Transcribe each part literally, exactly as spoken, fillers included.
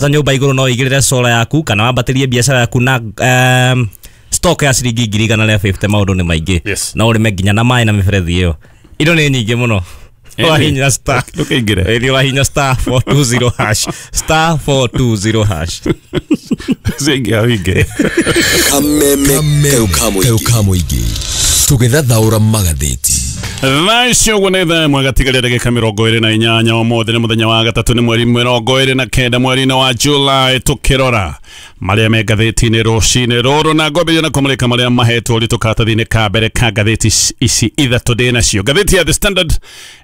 Nyũmba igũrũ no igĩrĩre solar yaku kana wambatĩrie biacara yaku na um, stock ya ciringi ngiri igana rĩa fifty. Maũndũ nĩ maingĩ. Yes. No ũrĩme nginya na maĩ na mĩberethi ĩyo. Indo nĩ nyingĩ mũno. Wahinya star Ndũkaingĩre. Ĩthi wahinya star four two zero hash, star four two zero hash. Ciaingĩha wĩingĩre. Kameme kau ka mũingĩ tũgĩthathaũra magathĩti. Thaa icio ũguo nĩ thaa ĩmwe gatigaria ndagĩka mĩrongo ĩrĩ na inyanya. Ũmũthĩ nĩ mũthenya wa gatatũ, nĩ mweri mĩrongo ĩrĩ na kenda mweri-inĩ wa July. Tũkĩrora marĩa me ngathĩti-inĩ rũcinĩ rũrũ na ngwambĩrĩria na kũmũrĩka marĩa mahetwo ũritũ karatathi-inĩ ka mbere ka ngathĩti ici ithatũ ndĩ nacio. Ngathĩti ya The Standard,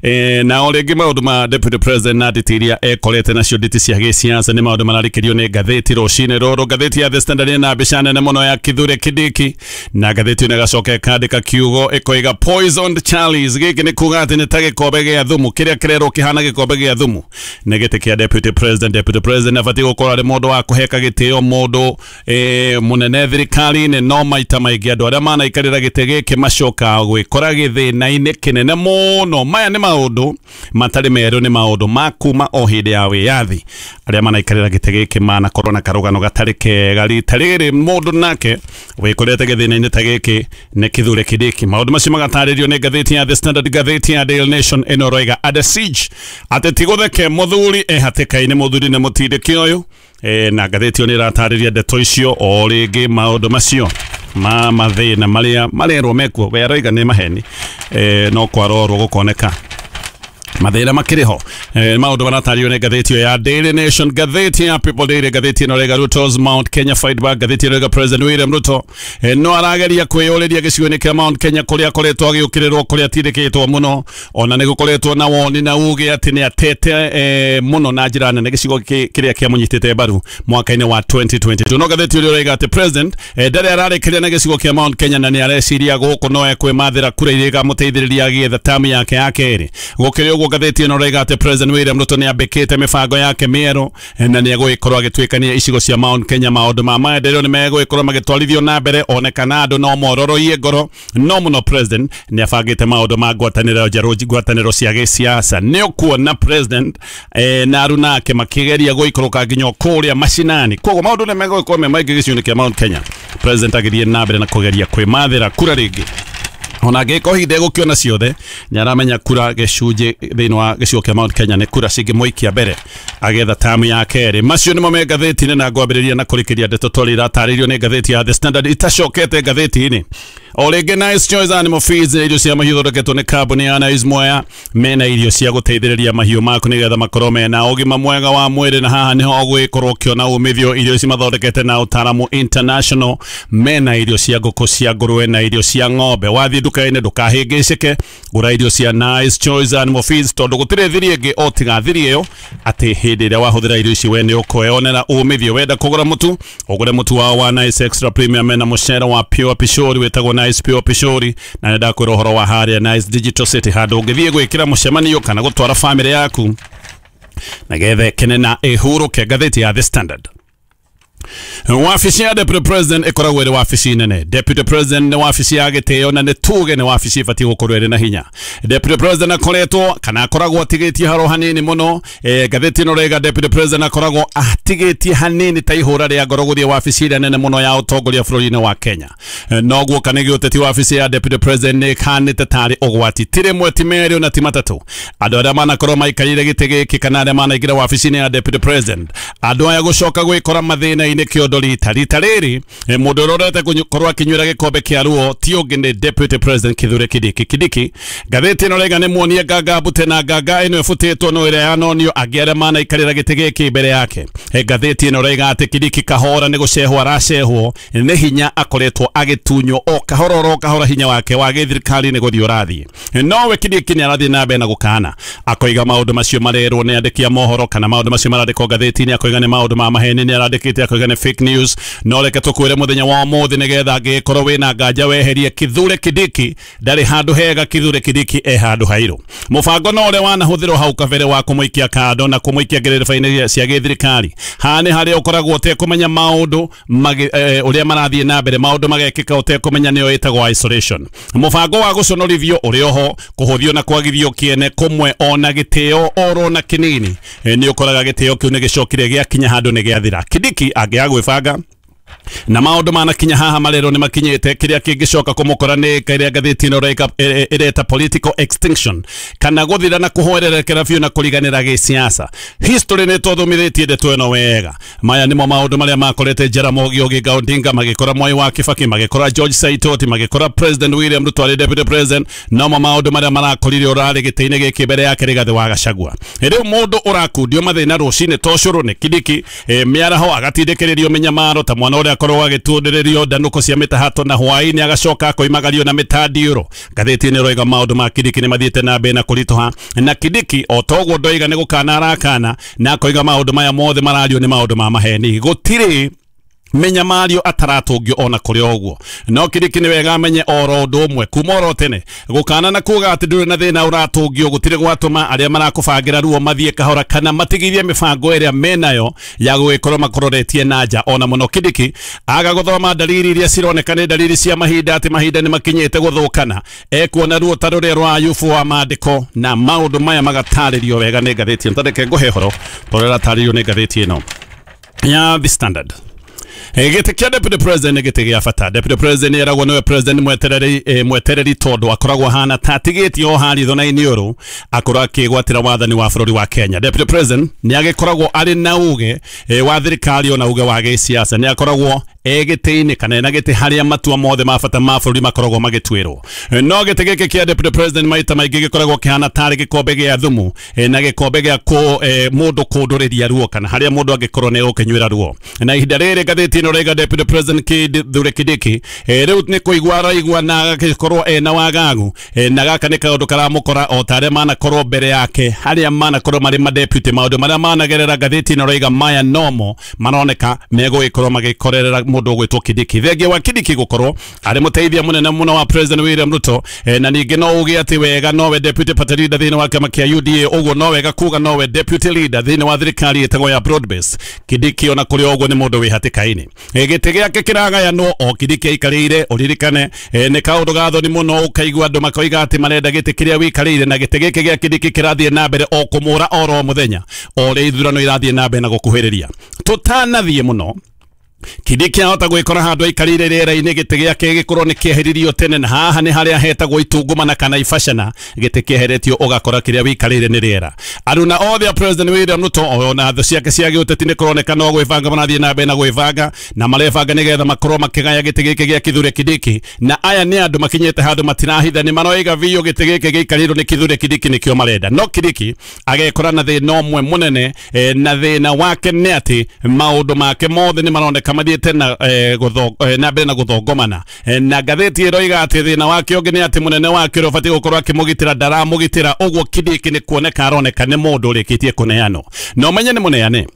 eh, na o rĩngĩ maũndũ ma Deputy President na nditi iria ekorete nacio, nditi cia gĩsiasa, nĩ maũndũ mararĩkĩrio nĩ ngathĩti rũcinĩ rũrũ. Ngathĩti ya The Standard ĩna mbica nene mũno ya Kithure Kindiki, na ngathĩti ĩno ĩgacoka ĩkandĩka kiugo ĩkoiga "Poisoned Chalice". Gĩkĩ nĩ kuga atĩ nĩ ta gĩkombe gĩa thumu, kĩrĩa kĩrerwo kĩhana gĩkombe gĩa thumu nĩ gĩtĩ kĩa Deputy President. Deputy President abatiĩ gũkorwo arĩ mũndũ wa kũheka gĩtĩo, mũndũ eh, mũnene thirikari-inĩ, no maita maingĩ andũ arĩa manaikarĩra gĩtĩ gĩkĩ macokaga gwĩkora gĩthĩna-inĩ kĩnene mũno. Maya nĩ maũndũ matarĩ merũ, nĩ maũndũ ma kuma o hĩndĩ ya wĩyathi. Arĩa manaikarĩra gĩtĩ gĩkĩ manakorwo na karũgano gatarĩ kega. Rita rĩrĩ mũndũ nake wĩkorete gĩthĩna-inĩ ta gĩkĩ nĩ Kithure Kindiki. Maũndũ macio magatarĩrio nĩ ngathĩti ya The Standard. Ngathĩti ya Daily Nation ĩno roiga "Under siege", atĩ ti gũtheke mũthuri e hatĩka-inĩ, mũthuri nĩ mũtindĩki ũyũ. e, na ngathĩti ĩyo nĩ ĩratarĩria ndeto icio o rĩngĩ, maũndũ macio ma mathĩna marĩa marerwo mekuo, we aroiga nĩ maheni, e, no kwarorwo gũkoneka mathĩna makĩrĩ ho. eh, maũndũ maratario nĩ ngathĩti ĩyo ya Daily Nation. Ngathĩti ya People Daily, ngathĩti ĩno rega "Ruto's Mount Kenya fight back". Ngathĩti ĩno rega President William Ruto eh, no arageria kwĩyũrĩria gĩcigo-inĩ kĩa Mount Kenya kũrĩa akoretwo agĩũkĩrĩrwo, kũrĩa atindĩkĩtwo mũno, ona nĩ gũkoretwo na woni na uge atĩ nĩ atete eh, mũno na njĩra nene gĩcigo kĩ- kĩrĩa kĩamũnyitĩte mbaru mwaka-inĩ wa twenty twenty-two. No ngathĩti ĩrĩa ĩroiga atĩ president eh, ndarĩ ararĩkĩria na gĩcigo kĩa Mount Kenya na nĩ areciria gũkũ no ekwĩmathĩra kura iria ikamũteithĩrĩria agĩetha tamu yake ya kerĩ. Gũkĩrĩ ũguo, ngathĩti ĩno ĩroiga atĩ President William Ruto nĩ ambĩkĩte mĩbango yake mĩerũ eh, na nĩ egũgĩkorwo agĩtuĩkania icigo cia Mount Kenya. Maũndũ ma maendeleo nĩ megũgĩkorwo magĩtwarithio na mbere onekana andũ no mororoie ngoro, no mũno president nĩ abangĩte maũndũ ma ngwatanĩro njerũ, ngwatanĩro cia gĩsiasa. Nĩ ũkuona president eh, na aruna ake makĩgeria gũikũrũka nginya kũrĩa macinani. Koguo maũndũ nĩ megũgĩkorwo me maingĩ gĩcigo-inĩ kĩa Mount Kenya, president agĩthiĩ na mbere na kũgeria kwĩmathĩra kura rĩngĩ, ona angĩkorwo hihi ndegũkĩona ciothe, nĩ aramenya kura gĩcunjĩ thĩinĩ wa gĩcigo kĩa Mount Kenya nĩ kura cingĩmũikia mbere agetha tamu ya kerĩ. Macio nĩmo me ngathĩti-inĩ, na ngwambĩrĩria na kũrĩkĩria ndeto twarĩ iratarĩrio nĩ ngathĩti ya The Standard itacokete ngathĩti-inĩ o rĩngĩ. Nice Choice Animal Feeds nĩ irio cia mahiũ thondeketwo nĩ kambuni ya Nice Mwea. Mena irio cia gũteithĩrĩria mahiũ maku nĩgetha makorwo mena ũgima mwega wa mwĩrĩ, na haha nĩho ũgũgĩkorwo ũkĩona umithio. Irio ici mathondekete na ũtaaramu international. Mena irio cia ngũkũ, cia ngũrwe na irio cia ng'ombe. Wathiĩ nduka-inĩ ndũkahĩngĩcĩke, gũra irio cia Nice Choice Animal Feeds, tondũ gũtirĩ thiri ĩngĩ o tiga thiri ĩyo atĩ hĩndĩ ĩrĩa wahũthĩra irio ici we nĩ ũkweyonera umithio. Wenda kũgũra mũtu, ũgũre mũtu wao wa Nice Extra Premium. Mena mũcere wa Pure Pishori wĩtagwo Nice Pure Pishori, na nĩ ndakwĩra ũhoro wa harĩa Nice Digital City, handũ ũngĩthiĩ gwĩkĩra mũcemanio kana gũtwara famĩlĩ yaku na getha ĩkene na ĩhurũke. Ngathĩti ya The Standard. Wabici ya Deputy President ĩkoragwo ĩrĩ wabici nene. Deputy President nĩ wabici ya gĩtĩo na nĩ tuge nĩ wabici ĩbatiĩ gũkorwo ĩrĩ na hinya. Deputy President akoretwo kana akoragwo atigĩtie haro hanini mũno. eh, ngathĩti ĩno rĩga Deputy President akoragwo atigĩtie hanini ta ihũra rĩa ngoro gũthiĩ wabici ĩrĩa nene mũno ya ũtongoria bũrũri-inĩ wa Kenya. Eh, noguo kana gĩũteti, wabici ya Deputy President nĩ ĩkanĩte tarĩ ũgwati. Ti rĩmwe, ti merĩ, ona ti matatũ andũ arĩa manakorwo maikarĩire gĩtĩ gĩkĩ kana arĩa manaingĩra wabici-inĩ ya Deputy President, andũ aya gũcoka gwĩkora mathĩna-inĩ kĩondo rita rita rĩrĩ. eh, mũndũ ũrĩa ũrorete gũkorwo akĩnyuĩra gĩkombe kĩa ruo ti ũngĩ nĩ Deputy President Kithure Kindiki. Kindiki, ngathĩti ĩno rĩga nĩ muonie nganga mbute, na nganga ĩno ĩbutĩtwo no ĩrĩa yanonio angĩ arĩa manaikarĩra gĩtĩ gĩkĩ mbere yake. Eh, ngathĩti ĩno rĩga atĩ Kindiki kahora nĩ gũcehwo aracehwo nĩ hinya, akoretwo agĩtunywo o kahora oro kahora hinya wake wa gĩthirikari nĩ gũthiĩ ũrathiĩ. Eh, nowe Kindiki nĩ arathiĩ na mbere na gũkana, akoiga maũndũ macio marerwo nĩ andĩki a mohoro kana maũndũ macio marandĩkwo ngathĩti-inĩ, akoiga nĩ maũndũ ma maheni. Nĩ arandĩkĩte akoiga Makoiga nĩ fake news, no reke tũkwĩre mũthenya wa ũmũthĩ nĩgetha angĩkorwo wĩna nganja weherie Kithure Kindiki ndarĩ handũ hega. Kithure Kindiki e handũ hairũ. Mũbango no ũrĩa wanahũthĩrwo hau kabere wa kũmũikia kando na kũmũikia ngerereba-inĩ cia gĩthirikari, haha nĩ harĩa ũkoragwo ũtekũmenya maũndũ ũrĩa marathiĩ na mbere, maũndũ magekĩka ũtekũmenya, nĩyo ĩtagwo isolation. Mũbango wa gũconorithio ũrĩ oho, kũhũthio na kwagithio kĩene kũmwe ona gĩtĩo oro na kĩnini, nĩ ũkoraga gĩtĩo kĩu nĩ gĩcokire gĩakinya handũ nĩ gĩathira. Kindiki angĩaga gwĩbanga na maũndũ manakinya haha marerwo nĩ makinyĩte, kĩrĩa kĩngĩcoka kũmũkora nĩ kĩrĩa ngathĩti ĩno ĩreta political extinction, kana gũthira na kũhwererekera biũ na kũriganĩra gĩsiasa. History nĩ tũthomithĩtie ndeto ĩno wega. Maya nĩmo maũndũ marĩa makorete Jaramogi Oginga Odinga, magĩkora Mwai wa Kibaki, magĩkora George Saitoti, magĩkora President William Ruto arĩ deputy president. Nomo maũndũ marĩa marakorire ũrarĩ gĩtĩ-inĩ gĩkĩ mbere yake Rigathĩ wa Gachagua. Rĩu mũndũ ũrakundio mathĩna rũcinĩ to cũrũ nĩ Kindiki, mĩaraho agatindĩkĩrĩrio mĩnyamaro ta mwana ũrĩa akorwo agĩtundĩrĩrio ndanũko cia mĩtahato, na hwaĩ-inĩ agacoka akoimagario na mĩtandiũrũ. Ngathĩti ĩno ĩroiga maũndũ ma Kindiki nĩ mathiĩte na mbere na kũritũha, na Kindiki o toguo ndoiga nĩ gũkana arakana, na akoiga maũndũ maya mothe marario nĩ maũndũ ma maheni. Gũtirĩ mĩnyamario ataratũngio ona kũrĩ ũguo. No Kindiki nĩ wega amenye oro ũndũ ũmwe kuma oro tene, gũkana na kuga atĩ ndũrĩ na thĩna ũratũngio gũtirĩ gwatũma arĩa marakũbangĩra ruo mathiĩ kahora kana matigithie mĩbango ĩrĩa menayo ya gũgĩkorwo makũroretie na nja. Ona mũno Kindiki aga gũthoma dalili iria cironeka nĩ dalili cia mahinda, atĩ mahinda nĩ makinyĩte gũthũkana, ekuona ruo ta rũrĩa rwa Ayubu wa maandĩko, na maũndũ maya magatarĩrio wega nĩ ngathĩti ĩno. Tareke ngũhe ũhoro tondũ ĩratarĩrio nĩ ngathĩti ĩno ya The Standard. Gĩtĩ kĩa deputy president nĩ gĩtĩ gĩa bata. Deputy president nĩ eragwo nĩwe president mwetereri, mwetereri tondũ akoragwo ahana ta atigĩtie o harĩa ithona-inĩ ũrũ akorwo akĩgwatĩra wathani wa bũrũri wa Kenya. Deputy president nĩ agĩkoragwo arĩ na uge wa thirikari ona uge wa gĩsiasa, nĩ akoragwo egĩtĩ-inĩ kana ena gĩtĩ harĩa matua mothe ma bata ma bũrũri makoragwo magĩtuĩrwo. No gĩtĩ gĩkĩ kĩa deputy president maita maingĩ gĩkoragwo kĩhana tarĩ gĩkombe gĩa thumu na gĩkombe gĩa mũndũ kũndũrĩria ruo, kana harĩa mũndũ angĩkorwo nĩ egũkĩnyuĩra ruo. Na ihinda rĩrĩ ngathĩti ĩno ĩroiga deputy president Kithure Kindiki rĩu nĩ kũigua araigua na agagĩkorwo ena wagagu, na gaka nĩ kaũndũ karamũkora o ta arĩa manakorwo mbere yake, harĩa manakorwo marĩ madeputy, maũndũ marĩa managerera ngathĩti ĩno ĩroiga maya nomo maroneka megũgĩkorwo magĩkorerera mũndũ ũgwĩtwo Kindiki. Thengia wa Kindiki gũkorwo arĩ mũteithia mũnene mũno wa President William Ruto, na ningĩ no uge atĩ wega nowe deputy party leader thĩinĩ wa kĩama kĩa U D A, ũguo no wega kuga nowe deputy leader thĩinĩ wa thirikari ĩtagwo ya broad base. Kindiki ona kũrĩ ũguo nĩ mũndũ wĩ hatĩka-inĩ. Gĩtĩ gĩake kĩragayanwo o Kindiki aikarĩire. Ũririkane nĩ kaũndũ ga thoni mũno ũkaigua andũ makoiga atĩ marenda gĩtĩ kĩrĩa wĩikarĩire, na gĩtĩ gĩkĩ gĩa Kindiki kĩrathiĩ na mbere o kũmũra oro mũthenya o ũrĩa ithurano irathiĩ na mbere na gũkuhĩrĩria. Tũtanathiĩ mũno, Kindiki ahota gwĩkora handũ aikarĩire rĩera-inĩ gĩtĩ gĩake gĩkorwo nĩ kĩeheririo tene, na haha nĩ harĩa hetagwo itungumana kana ibacana, gĩtĩ kĩeheretio ũgakora kĩrĩa wĩikarĩire nĩ rĩera. Aruna othe a President William Ruto ona thũ ciake cia gĩũteti nĩ kũroneka no gwĩbanga marathiĩ na mbere na gwĩbanga, na marebanga nĩgetha makorwo makĩgaya gĩtĩ gĩkĩ gĩa Kithure Kindiki. Na aya nĩ andũ makinyĩte handũ matirahitha, nĩ maroiga biũ gĩtĩ gĩkĩ gĩikarĩirwo nĩ Kithure Kindiki nĩkĩo marenda. No Kindiki agekora na thĩna ũmwe mũnene, na thĩna wake nĩ atĩ maũndũ make mothe nĩ maroneka mathiĩte na na mbere na gũthongomana. Na ngathĩti ĩroiga atĩ thĩna wake ũngĩ nĩ atĩ mũnene wake ũrĩa ũbatiĩ gũkorwo akĩmũgitĩra ndaramũgitĩra, ũguo Kindiki nĩ kuoneka aroneka nĩ mũndũ ũrĩkĩtie kũneanwo. Na ũmenye nĩ mũneane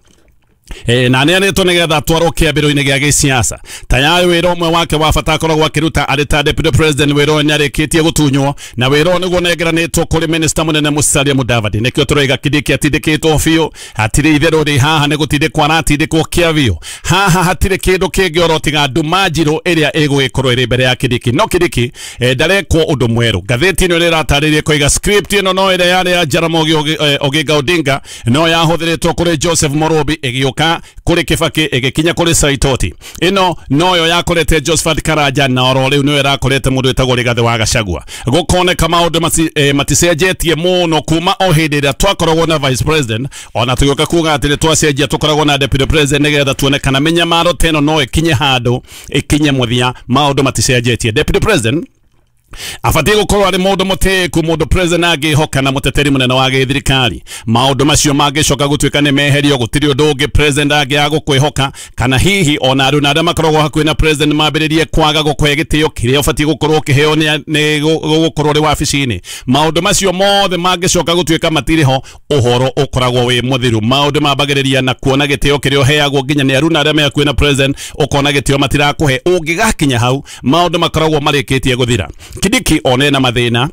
E, na neanĩtwo nĩgetha atwarwo kĩambĩrĩrio-inĩ gĩa gĩsiasa. Tayari wĩra ũmwe wake wa bata akoragwo akĩruta arĩ ta deputy president, wĩra ũyũ nĩarĩkĩtie gũtunywo, na wĩra ũyũ nĩguo ũnengeranĩtwo kũrĩ minister mũnene Musalia Mudavadi. Nĩkĩo tũroiga Kindiki atindĩkĩtwo biũ, hatirĩ itherũ rĩ haha nĩ gũtindĩkwo aratindĩkwo kĩa biũ. Haha hatirĩ kĩndũ kĩngĩ oro tiga nduma njirũ ĩrĩa ĩgũgĩkorwo ĩrĩ mbere ya Kindiki. No Kindiki eh, ndarekwo ũndũ mwerũ. Ngathĩti ĩno ĩratarĩria koiga script ĩno no ĩrĩa yarĩ ya Jaramogi Oginga Odinga, no yahũthĩrĩtwo kũrĩ Joseph Morobi ĩgĩũka kũrĩ Kibaki ĩgĩkinya kũrĩ Saitoti. Ĩno noyo yakorete Josephat Karanja, na oro rĩu nĩyo ĩrakorete mũndũ wĩtagwo Rigathĩ wa Gachagua. Gũkoneka maũndũ mati, eh, maticenjetie mũno kuma o hĩndĩ ĩrĩa twakoragwo na vice president, ona tũgĩũka kuga atĩ nĩ twacenjia tũkoragwo na deputy president nĩgetha tuone kana mĩnyamaro ta ĩno no ĩkinye handũ ĩkinye mũthia. Maũndũ maticenjetie. Deputy president Abatie gukorwo ari mundu mutiku, mundu president angihoka na muteteri munene wa githirikari. Maundu macio mangicoka gutuika ni meherio, gutiri undu ungi president angiaga gukwihoka, kana hihi ona andu na aria makoragwo hakuhi na president mambiririe kwaga gukuhe gitio kiria ubatie gukorwo ukiheo ni gukorwo uri wabici-ini. Maundu macio mothe mangicoka gutuika matiri ho, uhoro ukoragwo wi muthiru. Maundu mambagiriria na kuona gitio kiria uheagwo nginya ni aruna aria me hakuhi na president, ukona gitio matirakuhe. Ungigakinya hau, maundu makoragwo marikitie guthira. Kindiki one na mathina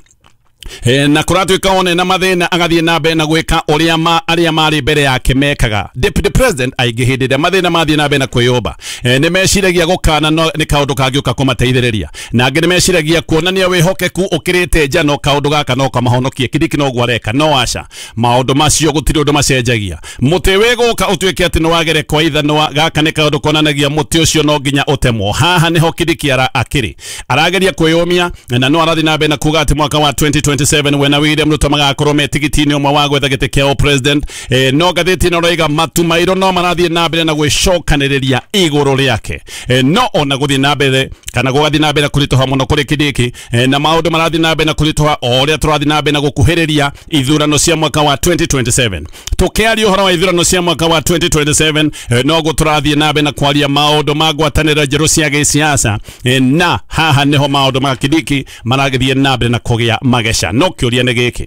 e, na kuratuika one na mathina agathie na mbere na gwika uria ma aria mari mbere yake mekaga. Deputy President aingi hindi ria mathina mathie na mbere na kwiyumba, e, ni meciragia gukana no ni kaundu kangiuka kumateithiriria, na angi ni meciragia kuonania wihokeku ukirite njano kaundu gaka no kamahonokie. Kindiki no gwareka no aca maundu macio gutiri undu macenjagia. Muti wiguka utuike ati ni wagere kwa ithanwa, gaka ni kaundu konanagia muti ucio no nginya utemwo. Haha niho Kindiki ara akiri arageria kwiyumia, na no arathi na mbere na kuga ati mwaka wa twenty twenty-seven wena William Ruto magakorwo me tigiti-inĩ ũmwe wa gwetha gĩtĩ kĩa president. E, no ngathĩti ĩno ĩroiga matu mairũ no marathiĩ na mbere na gwĩcokanĩrĩria igũrũ rĩake. E, no ona gũthiĩ na mbere kana gũgathiĩ na mbere kũritũha mũno kũrĩ Kindiki, e, na maũndũ marathiĩ na mbere na kũritũha o ũrĩa tũrathiĩ na mbere na gũkuhĩrĩria ithurano cia mwaka wa twenty twenty-seven. Tũkĩaria ũhoro wa ithurano cia mwaka wa twenty twenty-seven, e, noguo tũrathiĩ na mbere na kwaria maũndũ ma ngwatanĩro njerũ cia gĩsiasa, e, na haha nĩho maũndũ ma Kindiki maragĩthiĩ na mbere na kũgĩa mageca. No kĩũria nĩ gĩkĩ,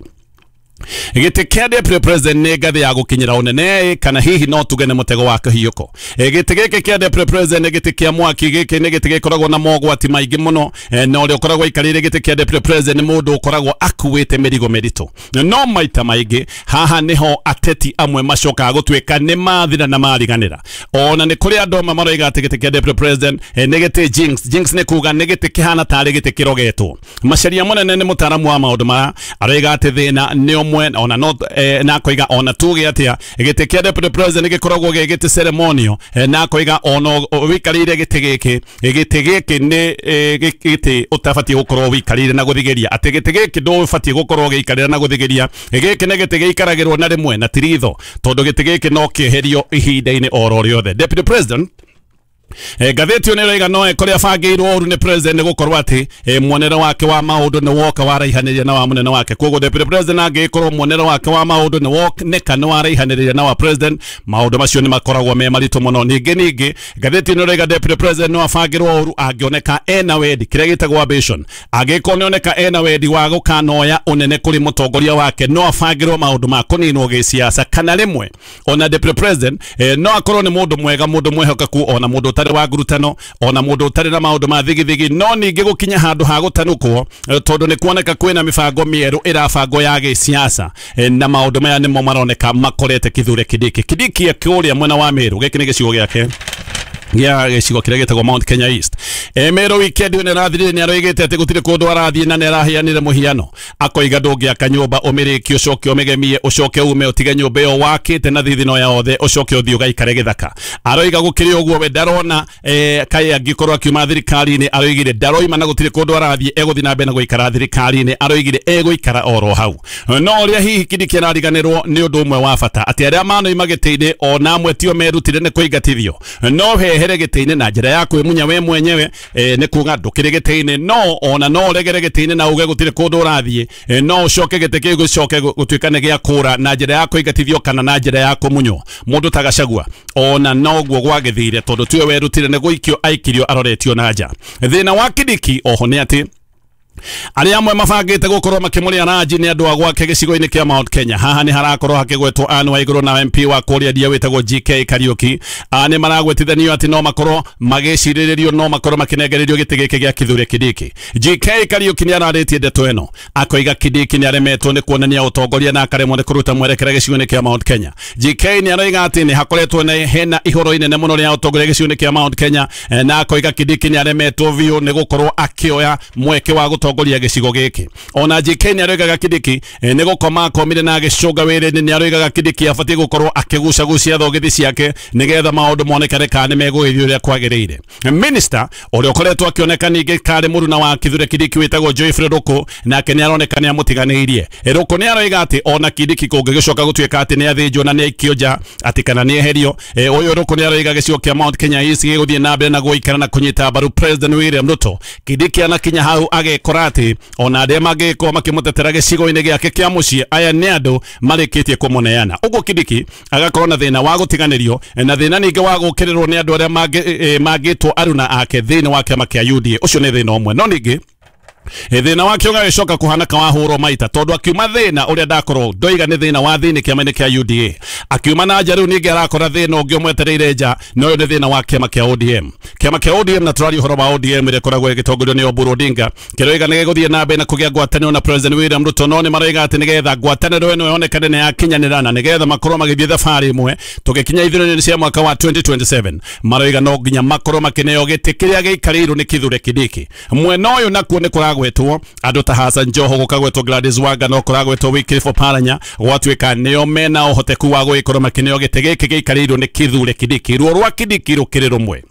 gĩtĩ kĩa deputy president nĩ ngathĩ ya gũkinyĩra ũnene, kana hihi no tuge nĩ mũtego wa kĩhiũko? Gĩtĩ gĩkĩ kĩa deputy president nĩ gĩtĩ kĩa mwaki, gĩkĩ nĩ gĩtĩ gĩkoragwo na mogwati maingĩ mũno, na ũrĩa ũkoragwo aikarĩire gĩtĩ kĩa deputy president nĩ mũndũ ũkoragwo akuĩte mĩrigo mĩritũ. No maita maingĩ haha nĩho ateti amwe macokaga gũtuĩka nĩ mathira na mariganĩra. Ona nĩ kũrĩ andũ amwe maroiga atĩ gĩtĩ kĩa deputy president nĩ gĩtĩ jinx. Jinx nĩ kuga nĩ gĩtĩ kĩhana tarĩ gĩtĩ kĩrogetwo. Macharia mũnene nĩ mũtaaramu wa maũndũ maya, aroiga atĩ thĩna nĩ ũmwe ona no eh, na koiga ona tuge atia gĩtĩ kĩa deputy president gĩkoragwo gĩ gĩtĩ ceremonial, eh, na koiga ona wikarire gĩtĩ gĩkĩ, gĩtĩ gĩkĩ nĩ gĩtĩ ũtabatiĩ gũkorwo wikarire na gũthigeria, atĩ gĩtĩ gĩkĩ ndũbatiĩ gũkorwo gĩikarĩra na gũthigeria. Gĩkĩ nĩ gĩtĩ gĩikaragĩrwo na rĩmwe na tiritho, tondũ gĩtĩ gĩkĩ no kĩeherio ihinda-inĩ oro rĩothe. Deputy President E, ngathĩti ĩyo nĩĩroiga no ĩkore abangĩirwo ũru nĩ president nĩ gũkorwo atĩ e, muonere wake wa maũndũ nĩ woka waraihanĩria na wa mũnene wake. Koguo deputy president angĩkorwo muonere wake wa maũndũ nĩ woneka nĩ waraihanĩria na wa president, maũndũ macio nĩ makoragwo me maritũ mũno. Ningĩ ningĩ ngathĩti ĩno ĩroiga deputy president no abangĩrwo ũru angĩoneka ena wendi, kĩrĩa gĩtagwo ambition, angĩkorwo nĩoneka ena wendi wa gũkanoya ũnene kũrĩ mũtongoria wake, no abangĩrwo maũndũ ma kũninwo gĩsiasa. Kana rĩmwe ona deputy president e, no akorwo nĩ mũndũ mwega, mũndũ mwĩhokeku, ona mũndũ ũtarĩ wa ngurutano, ona mũndũ ũtarĩ na maũndũ ma thigithigi, no ningĩ gũkinya handũ ha gũtanukwo, tondũ nĩ kuoneka kwĩna mĩbango mĩerũ ĩrabangwo ya gĩsiasa, na maũndũ maya nĩmo maroneka makorete Kithure Kindiki. Kindiki akĩũrĩa mwena wa Meru, gĩkĩ nĩ gĩcigo gĩake gĩa gĩcigo kĩrĩa gĩtagwo Mount Kenya East. E, Meru weekend ĩno ĩrathirire nĩ aroigĩte atĩ gũtirĩ kũndũ arathiĩ na nĩ araheanire mũhiano, akoiga ndũngĩaka nyũmba ũmĩrĩkie ũcoke ũmĩgemie ũcoke ume ũtige nyũmba ĩyo wakĩte na thithino yothe ũcoke ũthiĩ ũgaikare gĩthaka. Aroiga gũkĩrĩ ũguo we ndarona e, kaĩ angĩkorwo akiuma thirikari-inĩ, aroigire ndaroima na gũtirĩ kũndũ arathiĩ, egũthiĩ na mbere na gũikara thirikari-inĩ, aroigire egũikara oro hau. No ũrĩa hihi Kindiki arariganĩrwo nĩ ũndũ ũmwe wa bata, atĩ arĩa manoima gĩtĩ-inĩ ona amwe tio merutire nĩ kũingatithio, no hehere gĩtĩ-inĩ na njĩra ya kwĩmunya we mwenyewe, e, nĩ kuga ndũkĩrĩ gĩtĩ-inĩ, no ona no ũregere gĩtĩ-inĩ na uge gũtirĩ kũndũ ũrathiĩ, e, no ũcoke gĩtĩ kĩu gĩcoke gũtuĩka nĩ gĩa kũra na njĩra ya kũingatithio kana na njĩra ya kũmunywo. Mũndũ ta Gachagua ona noguo gwagĩthire, tondũ tiwe werutire nĩ gũikio aikirio aroretio na nja. Thĩna wa Kindiki oho nĩ atĩ arĩa amwe mabangĩte gũkorwo makĩmũrĩa ranji nĩ andũ a gwake gĩcigo-inĩ kĩa Mount Kenya. Haha nĩ harakorwo hakĩgwetwo Anne Waigũrũ na M P wa kũrĩa Ndia wĩtagwo G K Kariuki. Nĩ maragwetithanio atĩ no makorwo magĩcirĩrĩrio, no makorwo makĩnengererio gĩtĩ gĩkĩ gĩa Kithure Kindiki. G K Kariuki nĩ ararĩtie ndeto ĩno, akoiga Kindiki nĩ aremetwo nĩ kuonania ũtongoria na akaremwo nĩ kũruta mwerekera gĩcigo-inĩ kĩa Mount Kenya. G K nĩ aroiga atĩ nĩ hakoretwo na hena ihoro inene mũno rĩa ũtongoria gĩcigo-inĩ kĩa Mount Kenya, na akoiga Kindiki nĩ aremetwo biũ nĩ gũkorwo akĩoya mweke wa gũtongoria gĩcigo gĩkĩ. Ona G K nĩ aroigaga Kindiki nĩ gũkoma akomire na agĩcũnga wĩra-inĩ, nĩ aroigaga Kindiki abatiĩ gũkorwo akĩgucagucia thogithi ciake nĩgetha maũndũ monekane kana nĩ megũgĩthiĩ ũrĩa kwagĩrĩire. Minister ũrĩa ũkoretwo akĩoneka ningĩ karĩ mũruna wa Kithure Kindiki wĩtagwo Geoffrey Ruku, nake nĩ aroneka nĩ amũtiganĩirie. Ruku nĩ aroiga atĩ ona Kindiki kũngĩgĩcoka gũtuĩka atĩ nĩ athĩnjwo na nĩ aikio nja, atĩ kana nĩ eherio, ũyũ Ruku nĩ aroiga gĩcigo kĩa Mount Kenya East gĩgũthiĩ na mbere na gũikara na kũnyita mbaru President William Ruto. Kindiki anakinya hau agekora Tũgakora atĩ ona arĩa mangĩkorwo makĩmũtetera gĩcigo-inĩ gĩake kĩa mũciĩ aya nĩ andũ marĩkĩtie kũmũneana. Ũguo Kindiki agakorwo na thĩna wa gũtiganĩrio na thĩna ningĩ wa gũkĩrĩrwo nĩ andũ arĩa mangĩtwo aruna ake thĩinĩ wa kĩama kĩa U D A. Ũcio nĩ thĩna ũmwe. No ningĩ thĩna wake ũgagĩcoka kũhana kawahũrwo maita tondũ akiuma thĩna ũrĩa ndakorwo ndoiga nĩ thĩna wa thĩinĩ kĩama-inĩ kĩa U D A, akiuma na nja rĩu ningĩ arakora thĩna ũngĩ ũmwetereire nja, na ũyũ nĩ thĩna wa kĩama kĩa O D M. Kĩama kĩa O D M, na tũraria ũhoro wa O D M ĩrĩa ĩkoragwo ĩgĩtongorio nĩ Oburu Odinga, kĩroiga nĩ gĩgũthiĩ na mbere na kũgĩa ngwatanĩro na President William Ruto, no nĩ maroiga atĩ nĩgetha ngwatanĩro ĩno yonekane nĩ yakinyanĩra na nĩgetha makorwo magĩthiĩ thabarĩ ĩmwe tũgĩkinya ithurano-inĩ cia mwaka wa twenty twenty-seven, maroiga no nginya makorwo makĩneo gĩtĩ kĩrĩa gĩikarĩirwo nĩ Kithure Kindiki. Mwena ũyũ nakuo nĩ kũragwetwo andũ ta Hassan Joho, gũkagwetwo Gladys Wanga, no kũragwetwo Wycliffe Oparanya, gwatuĩka nĩo mena ũhoteku wa gũgĩkorwo makĩneo gĩtĩ gĩkĩ gĩikarĩirwo nĩ Kithure Kindiki. Ruo rwa Kindiki rũkĩrĩ rũmwe,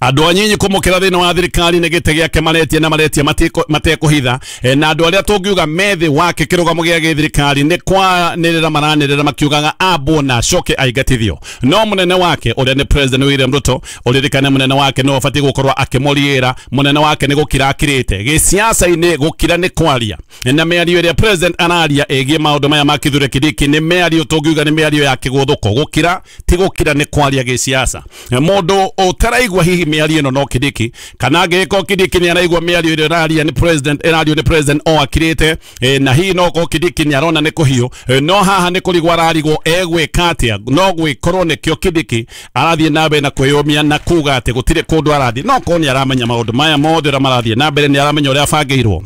andũ anyinyi kũmũkĩra thĩinĩ wa thirikari nĩ gĩtĩ gĩake maretia na maretia matekũhitha, na andũ arĩa tũngiuga methĩ wake kĩrũgamo gĩa gĩthirikari nĩ kwanĩrĩra maranĩrĩra makiugaga ambwo na acoke aingatithio. No mũnene wake ũrĩa nĩ President William Ruto, ũririkane mũnene wake nĩwe ũbatiĩ gũkorwo akĩmũriĩra, mũnene wake nĩ gũkira akirĩte gĩciaca-inĩ, gũkira nĩ kwaria, na mĩario ĩrĩa President araria ĩgiĩ maũndũ maya ma Kithure Kindiki nĩ mĩario tũngiuga nĩ mĩario ya kĩgũthũko. Gũkira ti gũkira, nĩ kwaria gĩciaca. Mũndũ ũtaraigua hihi mĩario ĩno no Kindiki, kana angĩgĩkorwo Kindiki nĩ araigua mĩario ĩrĩa ĩraria nĩ president ĩrario nĩ president o akirĩte, na hihi no korwo Kindiki nĩ arona nĩ kũhiũ, no haha nĩ kũrigwo ararigwo egwĩka atĩa. No gwĩkorwo nĩkĩo Kindiki arathiĩ na mbere na kwĩyũmia na kuga atĩ gũtirĩ kũndũ arathiĩ, no korwo nĩ aramenya maũndũ maya mothe ũrĩa marathiĩ na mbere, nĩ aramenya ũrĩa abangĩirwo,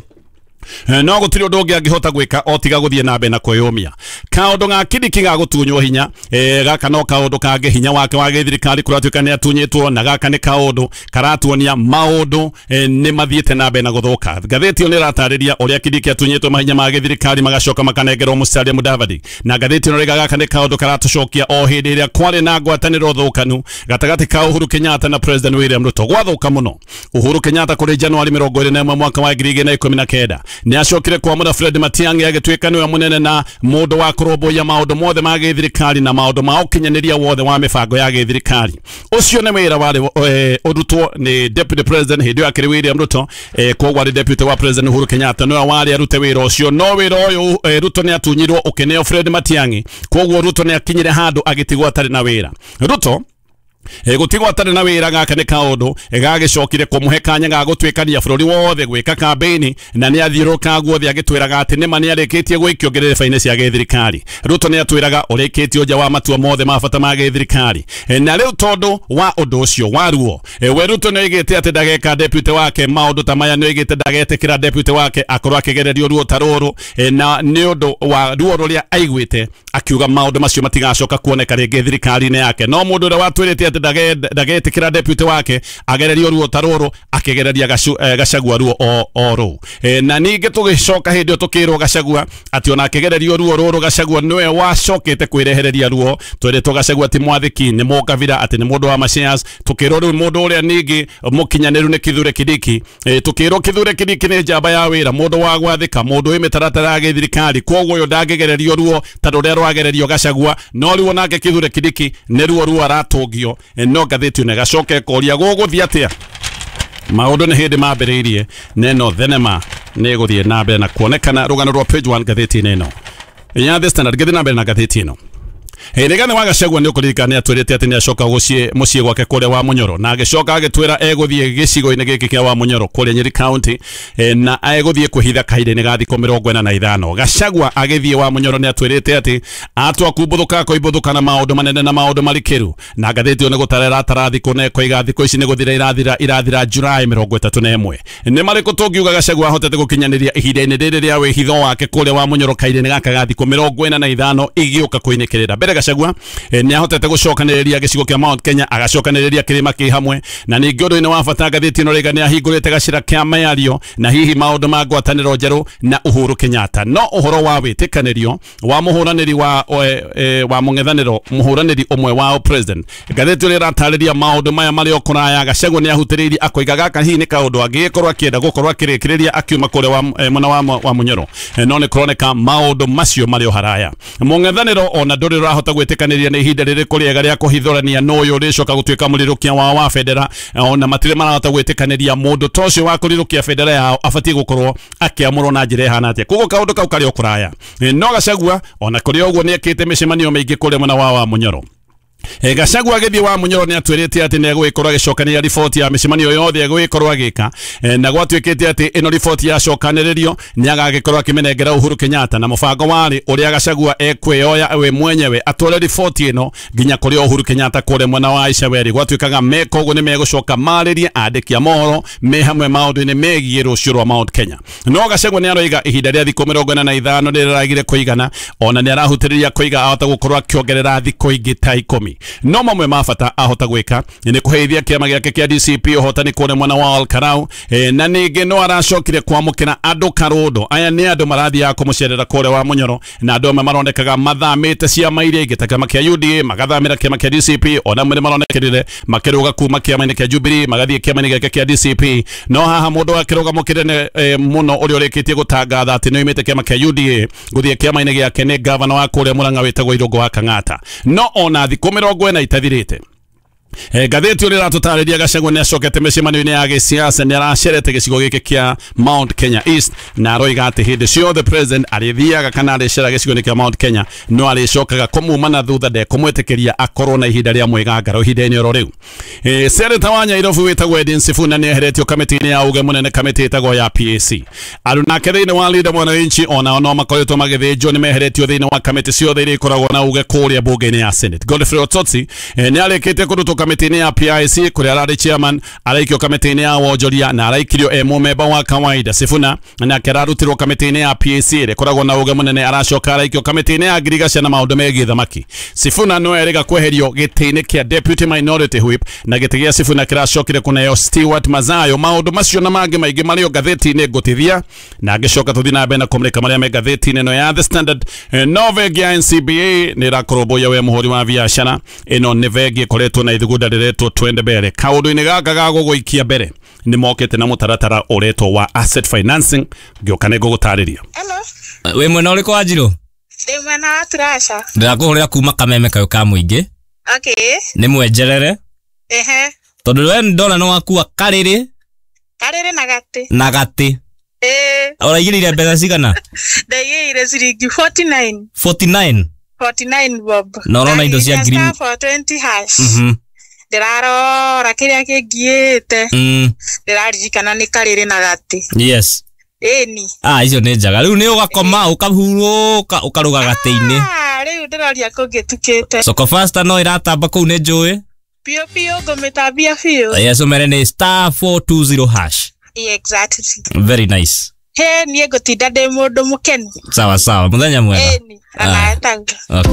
no gũtirĩ ũndũ ũngĩ angĩhota gwĩka o tiga gũthiĩ na mbere na kwĩyũmia. Kaũndũ ga Kindiki ga gũtunywo hinya, gaka no kaũndũ kangĩ, hinya wake wa gĩthirikari kũratuĩka nĩ atunyĩtwo, na gaka nĩ kaũndũ karatuonia maũndũ nĩ mathiĩte na mbere na gũthũka. Ngathĩti ĩyo nĩ ĩratarĩria ũrĩa Kindiki atunyĩtwo mahinya ma gĩthirikari magacoka makanengerwo Musalia Mudavadi, na ngathĩti ĩno rĩga gaka nĩ kaũndũ karatũcokia o hĩndĩ ĩrĩa kwarĩ na ngwatanĩro thũkanu gatagatĩ ka Uhuru Kenyatta na President William Ruto. Gwathũka mũno Uhuru Kenyatta kũrĩ Januari mĩrongo ĩrĩ na ĩmwe mwaka wa ngiri igĩrĩ na ikũmi na kenda nĩ acokire kwamũra Fred Matiang'i agĩtuĩka nĩwe mũnene na mũndũ wa kũrũmbũiya maũndũ mothe ma gĩthirikari na maũndũ ma ũkinyanĩria wothe wa mĩbango ya gĩthirikari. Ũcio nĩ wĩra warĩ ũrutwo nĩ Deputy President hĩndĩ ĩyo akĩrĩ William Ruto, koguo arĩ Deputy wa President Uhuru Kenyatta nĩwe warĩ arute wĩra ũcio. No wĩra ũyũ Ruto nĩ atunyirwo ũkĩneo Fred Matiang'i, koguo Ruto nĩ akinyire handũ agĩtigwo atarĩ na wĩra. Ruto gũtigwo atarĩ na wĩra gaka nĩ kaũndũ gagĩcokire kũmũhe kanya ga gũtuĩkania bũrũri wothe gwĩka kambĩini, na nĩ athiũrũrũka guothe agĩtwĩraga atĩ nĩma nĩ arĩkĩtie gwĩkio ngerereba-inĩ cia gĩthirikari. Ruto nĩ atwĩraga ũrĩkĩtio nja wa matua mothe ma bata ma gĩthirikari, na rĩu tondũ wa ũndũ ũcio wa ruo, we Ruto nĩ oigĩte atĩ ndageka deputy wake maũndũ ta maya, nĩ oigĩte ndagetĩkĩra deputy wake akorwo akĩgererio ruo ta rũrũ, na nĩ ũndũ wa ruo rũrĩa aiguĩte akiuga maũndũ macio matigacoka kuoneka rĩngĩ thirikari-inĩ yake. No mũndũ ũrĩa watwĩrĩte atĩ ndagetĩkĩra deputy wake agererio ruo ta rũrũ akĩgereria Gachagua ruo o rũu. Na ningĩ tũgĩcoka hĩndĩ ĩyo tũkĩrwo Gachagua atĩ ona akĩgererio ruo rũrũ Gachagua nĩwe wacokete kwĩrehereria ruo. Twĩrĩtwo Gachagua ti mwathĩki, nĩ mũkabira, atĩ nĩ mũndũ wa mashares. Tũkĩrwo rĩu mũndũ ũrĩa ningĩ mũkinyanĩru nĩ Kithure Kindiki. Tũkĩrwo Kithure Kindiki nĩ njamba ya wĩra, mũndũ wa gwathĩka, mũndũ wĩ mĩtaratara ya gĩthirikari, koguo ũyũ ndangĩgererio ruo ta rũrĩa rwagererio Gachagua. No rĩu onake Kithure Kindiki nĩ ruo ruo aratũngio. No ngathĩti ĩno ĩgacoka ĩkoria gũgũthiĩ atĩa. Maũndũ nĩ hĩndĩ mambĩrĩirie, neno thenema nĩ ĩgũthiĩ na mbere na kuonekana. Rũgano rwa page one ngathĩti-inĩ ĩno ya The Standard. Ngĩthiĩ na mbere na ngathĩti ĩno, Rigathi wa Gachagua nĩ ũkũririkana nĩ atwĩrĩte atĩ nĩ acoka gũciĩ mũciĩ gwake kũrĩa wa Munyoro, na agĩcoka agĩtwĩra egũthiĩ gĩcigo-inĩ gĩkĩ kĩa wa Munyoro kũrĩa Nyeri County, na egũthiĩ kwĩhitha kahinda-inĩ ga thikũ mĩrongo ĩna na ithano. Gachagua agĩthiĩ wa Munyoro nĩ atwĩrĩte atĩ atua kumbũthũka akoimbũthũka na maũndũ manene na maũndũ marikĩru, na ngathĩti ĩyo nĩ gũtara ĩratara thikũ na ĩkoiga thikũ ici nĩ gũthira irathira irathira July mĩrongo ĩtatũ na ĩmwe. Nĩ marĩkũ tũngiuga Gachagua ahotete gũkinyanĩria ihinda-inĩ rĩrĩ rĩa wĩhitho wake kũrĩa wa Munyoro kahinda-inĩ gaka ga thikũ mĩrongo ĩna na ithano igĩũka kũinĩkĩrĩra? Mbere Gachagua nĩ ahotete gũcokanĩrĩria gĩcigo kĩa Mount Kenya, agacokanĩrĩria kĩrĩma kĩ hamwe, na ningĩ ũndũ-inĩ wa bata ngathĩti ĩno rĩga nĩ ahingũrĩte gacĩra kĩa mĩario na hihi maũndũ ma ngwatanĩro njerũ na Uhuru Kenyatta. No ũhoro wa wĩtĩkanĩrio wa mũhũranĩri wa e, wa mũng'ethanĩro mũhũranĩri ũmwe wa president, ngathĩti ĩrĩa ĩratarĩria maũndũ maya marĩ o kũraya. Gachagua nĩ ahutĩrĩirie akoiga gaka hihi nĩ kaũndũ angĩgĩkorwo akĩenda gũkorwo akĩrĩkĩrĩria akiuma kũrĩa wa mwena wa wa Munyoro, no nĩ kũroneka maũndũ macio marĩ o haraya. Mũng'ethanĩro ona ndũrĩ ũrahota marahota gwĩtĩkanĩria nĩ ihinda rĩrĩkũ rĩega rĩa kũhithũrania no ũyũ ũrĩcoka gũtuĩka mũrirũkia wao wa bendera. Ona matirĩ marahota gwĩtĩkanĩria mũndũ ta ũcio wa kũrirũkia bendera yao abatiĩ gũkorwo akĩamũrwo na njĩra ĩhana atĩa. Koguo kaũndũ kau karĩ o kũraya. No Gachagua ona kũrĩ ũguo nĩ ekĩte mĩcemanio mĩingĩ kũrĩa mwena wa wa Munyoro. E, Gachagua agĩthiĩ wa Munyoro nĩ atwĩrĩte atĩ nĩ egũgĩkorwo agĩcokanĩria riboti ya mĩcemanio yothe egũgĩkorwo agĩka, e, na gwatuĩkĩte atĩ ĩno riboti yacokanĩrĩrio nĩ agagĩkorwo akĩmĩnengera Uhuru Kenyatta, na mũbango warĩ ũrĩa Gachagua ekwĩoya we mwenyewe atware riboti ĩno nginya kũrĩ Uhuru Kenyatta kũrĩa mwena wa Icaweri. Gwatuĩkaga meka ũguo nĩ megũcoka marĩrie andĩki a mohoro me hamwe maũndũ-inĩ megiĩ rũciũ rwa Mount Kenya. No Gachagua nĩ aroiga ihinda rĩa thikũ mĩrongo ĩna na ithano nĩ rĩragire kũigana, ona nĩ arahutĩrĩria kũiga ahota gũkorwo akĩongerera thikũ ingĩ ta ikũmi. No mamwe ma bata ahota gwĩka nĩ kũheithia kĩama gĩake kĩa D C P ũhotani kũrĩa mwena wa Olkarau, e, na ningĩ no aracokire kwamũkĩra andũ karũndo. Aya nĩ andũ marathiaga kũmũcerera kũrĩa wa Munyoro, na andũ amwe maronekaga mathamĩte ciama iria ingĩ ta kĩama kĩa U D A magathamĩra kĩama kĩa D C P, ona amwe nĩ maronekerire makĩrũga kuma kĩama-inĩ kĩa Jubilee magathiĩ kĩama-inĩ gĩake kĩa D C P. No haha mũndũ wa kĩrũgamo kĩnene e, mũno ũrĩa ũrĩkĩtie gũtangatha atĩ nĩ oimĩte kĩama kĩa U D A gũthiĩ kĩama-inĩ gĩake nĩ gavana wa kũrĩa Murang'a wĩtagwo Irũngũ wa Kang'ata. No ona thikũ mĩrongo ĩna itathirĩte, E, ngathĩti ũrĩa ĩratũtarĩria Gachagua nĩ acokete mĩcemanio-inĩ ya gĩsiasa, nĩ aracerete gĩcigo gĩkĩ kĩa Mount Kenya East, na aroiga atĩ hĩndĩ ciothe president arĩthiaga kana arĩcera gĩcigo-inĩ kĩa Mount Kenya no arĩcokaga kũmuma na thutha ndekũmwĩtĩkĩria akorwo na ihinda rĩa mwĩgangaro ihinda-inĩ oro rĩu. E, Seneta wa Nyairobi wĩtagwo Edwin Sifuna nĩ eheretio kamĩtĩ-inĩ ya uge mũnene, kamĩtĩ ĩtagwo ya P A C. Arunake thĩinĩ wa Linda Mwananchi onao no makoretwo magĩthĩnjwo, nĩ meheretio thĩinĩ wa kamĩtĩ ciothe iria ikoragwo na uge kũrĩa mbunge-inĩ ya Senate. Godfrey Ototsi e, nĩ arĩkĩtie kũrutwo kamĩtĩ-inĩ ya P I C kũrĩa ararĩ chairman, araikio kamĩtĩ-inĩ ya wonjoria na araikirio e mũmemba wa kawaida. Sifuna nake ararutirwo kamĩtĩ-inĩ ya P A C ĩrĩa ĩkoragwo na uge mũnene, aracoka araikio kamĩtĩ-inĩ ya ngirigaca na maũndũ megiĩ thamaki. Sifuna no erĩga kweherio gĩtĩ-inĩ kĩa deputy minority whip, na gĩtĩ gĩa Sifuna kĩracokire kũneo Stewart Mazayo. Maũndũ macio na mangĩ maingĩ marĩ o ngathĩti-inĩ ngũtithia, na ngĩcoka tũthiĩ na mbere na kũmũrĩka marĩa me ngathĩti-inĩ ĩno ya The Standard. No bengi ya N C B A nĩ ĩrakũrũmbũiya we mũhũri wa biacara. Ĩno nĩ bengi ĩkoretwo na ithugunda rĩretwo Twende Mbere. Kaũndũ-inĩ gaka ga gũgũikia mbere nĩ mokĩte na mũtaratara ũretwo wa asset financing. Ngĩũka nĩ ngũgũtarĩria. Hello. Wĩ mwena ũrĩkũ wa Njirũ? Ndĩ mwena wa Turasha. Ndĩrakũhũrĩra kuma Kameme kayũ ka mũingĩ. Okay. Nĩ mwenjerere. Ehe. Tondũ we ndona nĩ wakua karĩrĩ. Karĩrĩ na gatĩ. Na gatĩ. Ĩĩ. Ũraigĩrĩire mbeca cigana? Ndaigĩrĩire ciringi forty-nine. forty-nine? forty-nine bob. Na ũrona indo cia ngiri four twenty hash. Mhm. Ndĩrarora kĩrĩa kĩngiĩte. Mm. Ndĩraririkana nĩ karĩrĩ na gatĩ. Yes. Ĩni. Ah, icio nĩ njega. Rĩu nĩ ũgakoma ũkahurũka ũkarũga gatĩ-inĩ. Ah, rĩu ndĩroria kũngĩtukĩte. Soko Fasta no ĩratamba kũu nĩ njũĩ. Biũ biũ ngũmĩtambia biũ. Yes, ũmere nĩ star four two zero hash. Exactly. Very nice. He, niĩ ngũtinda ndĩ mũndũ mũkenu. Sawa sawa, mũthenya mwega. Ĩni, onawe taguo. Okay.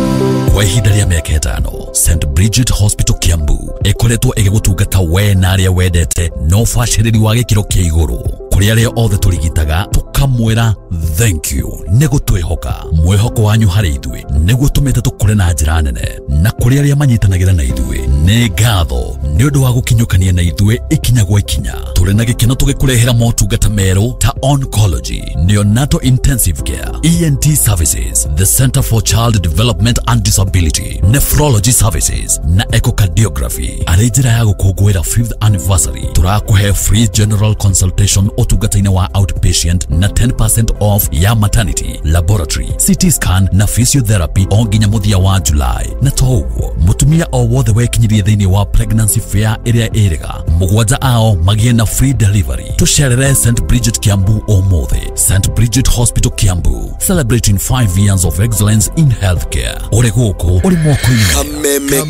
Kwa ihinda rĩa mĩaka ĩtano, Saint Bridget Hospital Kiambu ĩkoretwo ĩgĩgũtungata we na arĩa wendete na ũbacĩrĩri wa gĩkĩro kĩa igũrũ. Kũrĩ arĩa othe tũrigitaga tũkamwĩra thank you nĩ gũtwĩhoka. Mwĩhoko wanyu harĩ ithuĩ nĩguo tũmĩte tũkũre na njĩra nene, na kũrĩ arĩa manyitanagĩra na ithuĩ nĩ ngatho nĩ ũndũ wa gũkinyũkania na ithuĩ ikinya gwa ikinya. Tũrĩ na gĩkeno tũgĩkũrehera motungata merũ ta oncology, neonatal intensive care, E N T services, the Center for Child Development and Disability, nephrology services na echocardiography. Arĩ njĩra ya gũkũngũĩra fifth anniversary, tũrakũhe free general consultation ũtungata-inĩ wa outpatient na ten percent off ya maternity, laboratory, C T scan na physiotherapy o nginya mũthia wa July. Na to ũguo, mũtumia o wothe wekinyirie thĩinĩ wa pregnancy fair ĩrĩa ĩrĩga mũgwanja ao magĩe na free delivery. Tũcerere Saint Bridget Kiambu ũmũthĩ. Saint Bridget Hospital Kiambu, celebrating five years of excellence in healthcare. Ũrĩ gũkũ, ũrĩ moko-inĩ. Kameme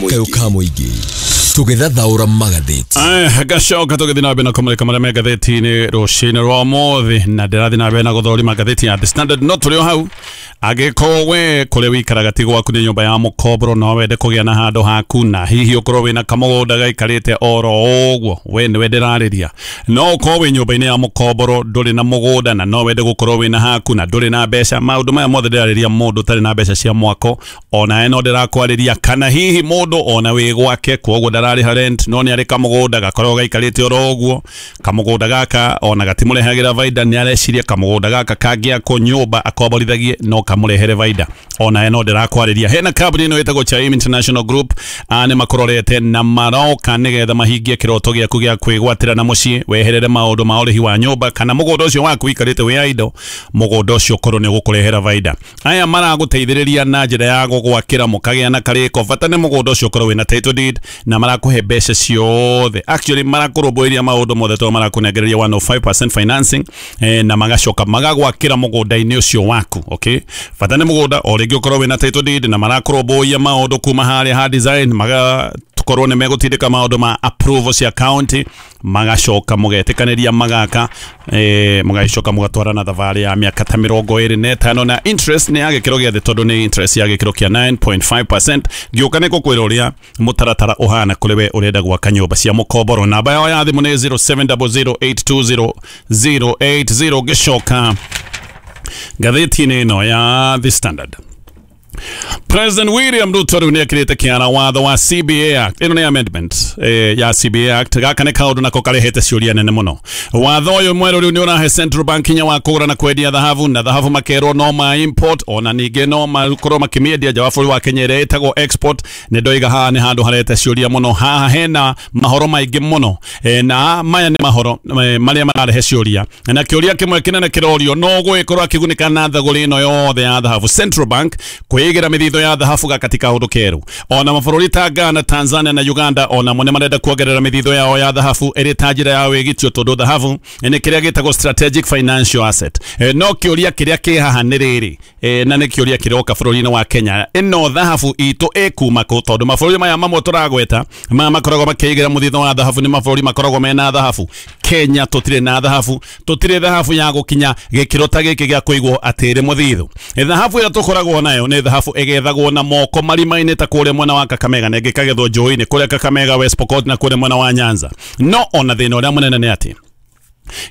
kayũ ka mũingĩ. Tũgĩthathaũra magathĩti. Aya, gacoka tũgĩthiĩ na mbere na kũmũrĩka marĩa me ngathĩti-inĩ rũcinĩ rwa ũmũthĩ, na ndĩrathiĩ na mbere na gũthũrima ngathĩti ya The Standard. No tũrĩ o hau, angĩkorwo we kũrĩa wĩikaraga ti gwaku nĩ nyũmba ya mũkomboro, no wende kũgĩa na handũ haku, na hihi ũkorwo wĩna kamũgũnda gaikarĩte oro ũguo, we nĩwe ndĩrarĩria. No ũkorwo wĩ nyũmba-inĩ ya mũkomboro ndũrĩ na mũgũnda, na no wende gũkorwo wĩna haku na ndũrĩ na mbeca. Maũndũ maya mothe ndĩrarĩria mũndũ ũtarĩ na mbeca cia mwako, onawe no ndĩrakwarĩria, kana hihi mũndũ ona wĩ gwake, koguo ndararĩha rent no nĩ arĩ kamũgũnda gakoragwo gaikarĩte oro ũguo. Kamũgũnda gaka ona gatimũrehagĩra baida, nĩ areciria kamũgũnda gaka kangĩakwo nyũmba akomborithagie no kamũrehere baida. Ona no ndĩrakwarĩria hena kambuni ĩno ĩtagwo Chaim International Group, nĩ makũrorete na maroka nĩgetha mahingie kĩroto gĩaku gĩa kwĩgwatĩra na mũciĩ, weherere maũndũ ma ũrĩhi wa nyũmba kana mũgũnda ũcio waku wikarĩte wĩ idle, mũgũnda ũcio ũkorwo nĩ ũgũkũrehera baida. Aya maragũteithĩrĩria na njĩra ya gũgwakĩra mũkagĩa na karĩko, bata nĩ mũgũnda ũcio ũkorwo wĩna title deed na marakũhe mbeca ciothe. Actually marakũrũmbũiria maũndũ mothe tondũ marakũnengereria one oh five percent financing eh, na magacoka magagwakĩra mũgũnda-inĩ ũcio waku. Okay, bata nĩ mũgũnda o rĩngĩ ũkorwo wĩna title deed na marakũrũmbũiya maũndũ kuma harĩa ha design, maga tukorwo nĩ megũtindĩka maũndũ ma approval cia county, magacoka mũgetĩkanĩria magaka eh, mũgacoka mũgatwarana thabarĩ ya mĩaka ta mĩrongo ĩrĩ na ĩtano na interest nĩ ya gĩkĩro gĩa thĩ tondũ nĩ interest ya gĩkĩro kĩa nine point five percent. Ngĩũka nĩ gũkwĩra ũrĩa mũtaratara ũhana kũrĩ we ũrenda gwaka nyũmba cia mũkomboro. Namba yao ya thimũ nĩ zero seven zero zero eight two zero zero eight zero. Ngĩcoka ngathĩti-inĩ ĩno ya The Standard, President William Ruto rĩu nĩekĩrĩte kĩara watho wa C B A Act. Ĩno nĩ amendment eh, ya C B A Act. Gaka nĩ kaũndũ nako karehete ciũria nene mũno. Watho ũyũ mwerũ rĩu nĩ ũrahe Central Bank hinya wa kũgũra na kwendia thahabu, na thahabu makerwo no ma import ona ningĩ no makorwo makĩmĩendia nja wa bũrũri wa Kenya ĩrĩa ĩtagwo export. Nĩ ndoiga haha nĩ handũ harehete ciũria mũno. Haha hena mahoro maingĩ mũno eh, na maya nĩ mahoro eh, marĩa mararehe ciũria, na kĩũria kĩmwe kĩnene kĩrorio no gũgĩkorwo akĩgunĩka na thogora ĩno yothe ya thahabu Central Bank kwĩigĩra mĩthithũ ya thahabu gaka kaũndũ keru. Ona mabũrũri ta Ghana, Tanzania na Uganda ona mo nĩ marenda kuongerera mĩthithũ yao ya thahabu ĩrĩ ta njĩra ya wĩgitio tondũ thahabu nĩ kĩrĩa gĩtagwo strategic financial asset. E, no kĩũria kĩrĩa kĩ haha nĩ rĩrĩ e, na nĩ kĩũria kĩroka bũrũri-inĩ wa Kenya, ĩno thahabu itũ ĩkuma kũ? Tondũ mabũrũri maya mamwe tũragweta maya makoragwo makĩigĩra mũthithũ wa thahabu nĩ mabũrũri makoragwo mena thahabu. Kenya tũtirĩ na thahabu, tũtirĩ thahabu ya gũkinya gĩkĩro ta gĩkĩ gĩa kũigwo atĩ ĩrĩ mũthithũ. Thahabu ĩrĩa tũkoragwo nayo nĩ thahabu ĩgethagwo na moko marima-inĩ ta kũrĩa mwena wa Kakamega na ĩngĩ ĩkagethwo njũĩ-inĩ kũrĩa Kakamega, West Pokot na kũrĩa mwena wa Nyanza. No ona thĩna ũrĩa mũnene nĩ atĩ